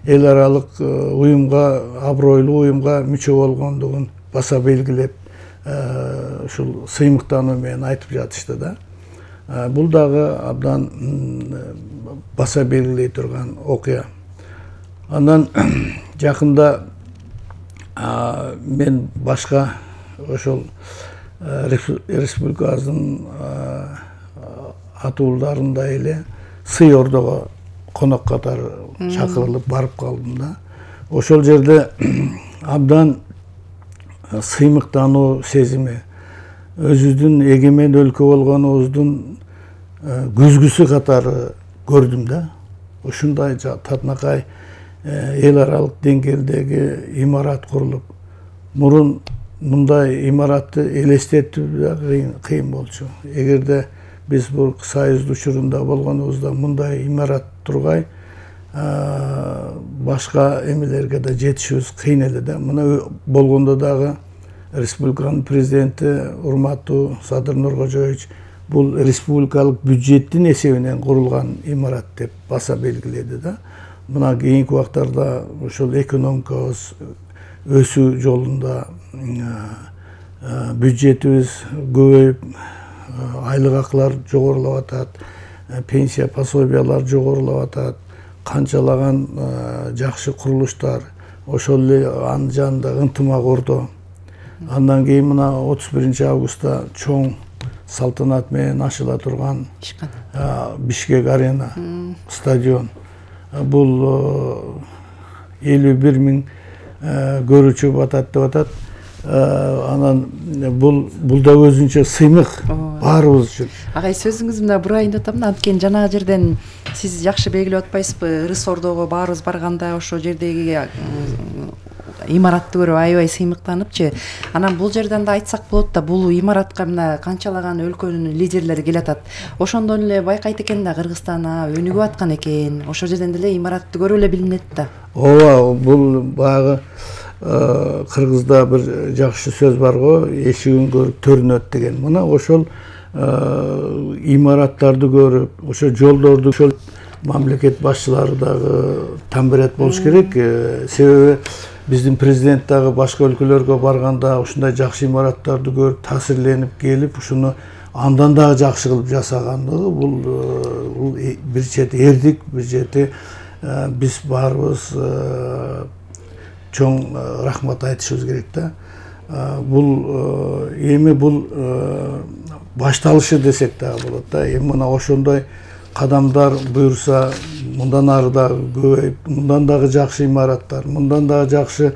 эл аралык уюмга, абройлуу уюмга мүчө болгондугун баса белгилеп, ушул сыймыктануу менен айтып жатышты да. Бул дагы абдан баса белгилей турган окуя. Андан жакында мен башка ошол республикабыздын атуулдарында эле Сый Ордого конок катары чакырылып барып калдым да. Ошол жерде абдан сыймыктануу сезими, өзүбүздүн эгемен өлкө болгонубуздун күзгүсү катары көрдүм да. Ушундай татынакай эл аралык деңгээлдеги имарат курулуп, мурун мындай имаратты элестетүү да кыйын болчу. Эгерде биз бул Союз учурунда болгонубузда мындай имарат тургай, башка эмелерге да жетишибиз кыйын эле да. Мына болгондо дагы республиканын президенти урматтуу Садыр Нуркожоевич бул республикалык бюджеттин эсебинен курулган имарат деп баса белгиледи да. Мына кийинки убактарда ошол экономикабыз өсүү жолунда, бюджетибиз көбөйүп, айлык акылар жогорулап атат, пенсия пособиялар жогорулап атат, канчалаган жакшы курулуштар, ошол эле анын жанында ынтымак ордо. Андан кийин мына отуз биринчи августта чоң салтанат менен ачыла турган Бишкек арена стадион. Бул элүү бир миң көрүүчү батат деп атат. Анан бул бул да өзүнчө сыймык баарыбыз үчүн. Агай, сөзүңүз мына бурайын деп атам да, анткени жанагы жерден сиз жакшы белгилеп атпайсызбы? Ырыс Ордого баарыбыз барганда ошо жердеги имаратты көрүп аябай сыймыктаныпчы. Анан бул жерден да айтсак болот да, бул имаратка мына канчалаган өлкөнүн лидерлери келатат. Ошондон эле байкайт экен да, Кыргызстан өнүгүп аткан экен. Ошол жерден деле имаратты көрүп эле билинет да. Ооба, бул баягы кыргызда бир жакшы сөз бар го, эшигин көрүп төрүнөт деген. Мына ошол имараттарды көрүп, ошо жолдорду ошол мамлекет башчылары дагы там берет болуш керек. Себеби биздин президент дагы башка өлкөлөргө барганда ушундай жакшы имараттарды көрүп, таасирленип келип, ушуну андан дагы жакшы кылып жасагандыгы бул бул бир чети эрдик, бир чети биз баарыбыз чоң рахмат айтышыбыз керек да. Бул эми бул башталышы десек дагы болот да. Эми мына ошондой кадамдар буюрса, мындан ары дагы көбөйүп, мындан дагы жакшы имараттар, мындан дагы жакшы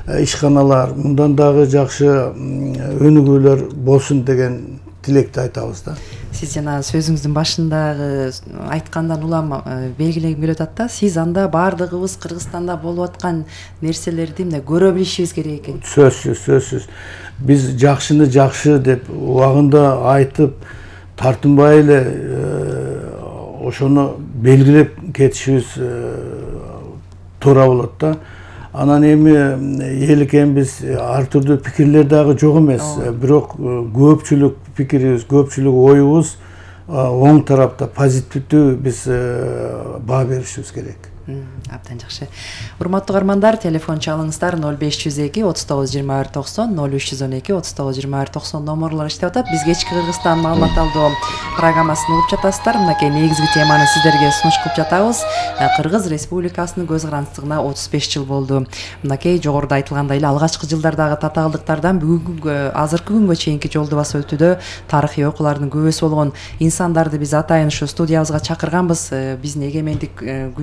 ишканалар, мындан дагы жакшы өнүгүүлөр болсун деген тилекти айтабыз да. Сиз жана сөзүңүздүн башындагы айткандан улам белгилегим келип атат да, сиз анда баардыгыбыз Кыргызстанда болуп аткан нерселерди мындай көрө билишибиз керек экен. Сөзсүз, сөзсүз. Биз жакшыны жакшы деп убагында айтып, тартынбай эле ошону белгилеп кетишибиз туура болот да. Анан эми эл экенбиз, ар түрдүү пикирлер дагы жок эмес. Бирок көпчүлүк пикирибиз, көпчүлүк оюбуз оң тарапта, позитивдүү биз баа беришибиз керек. Абдан жакшы. Урматтуу угармандар, телефон чалыңыздар ноль беш жүз эки отуз тогуз жыйырма бир токсон, ноль үч жүз он эки отуз тогуз жыйырма бир токсон номерлор иштеп атат. Биз кечки Кыргызстан маалымат алуу программасын угуп жатасыздар. Мынакей негизги теманы сиздерге сунуш кылып жатабыз. Кыргыз Республикасынын көз карандысына отуз беш жыл болду. Мынакей жогоруда айтылгандай эле алгачкы жылдардагы татаалдыктардан бүгүнкү азыркы күнгө чейинки жолду басып өтүүдө тарыхый окуулардын күбөсү болгон инсандарды биз атайын ушу студиябызга чакырганбыз. Биздин эгемендик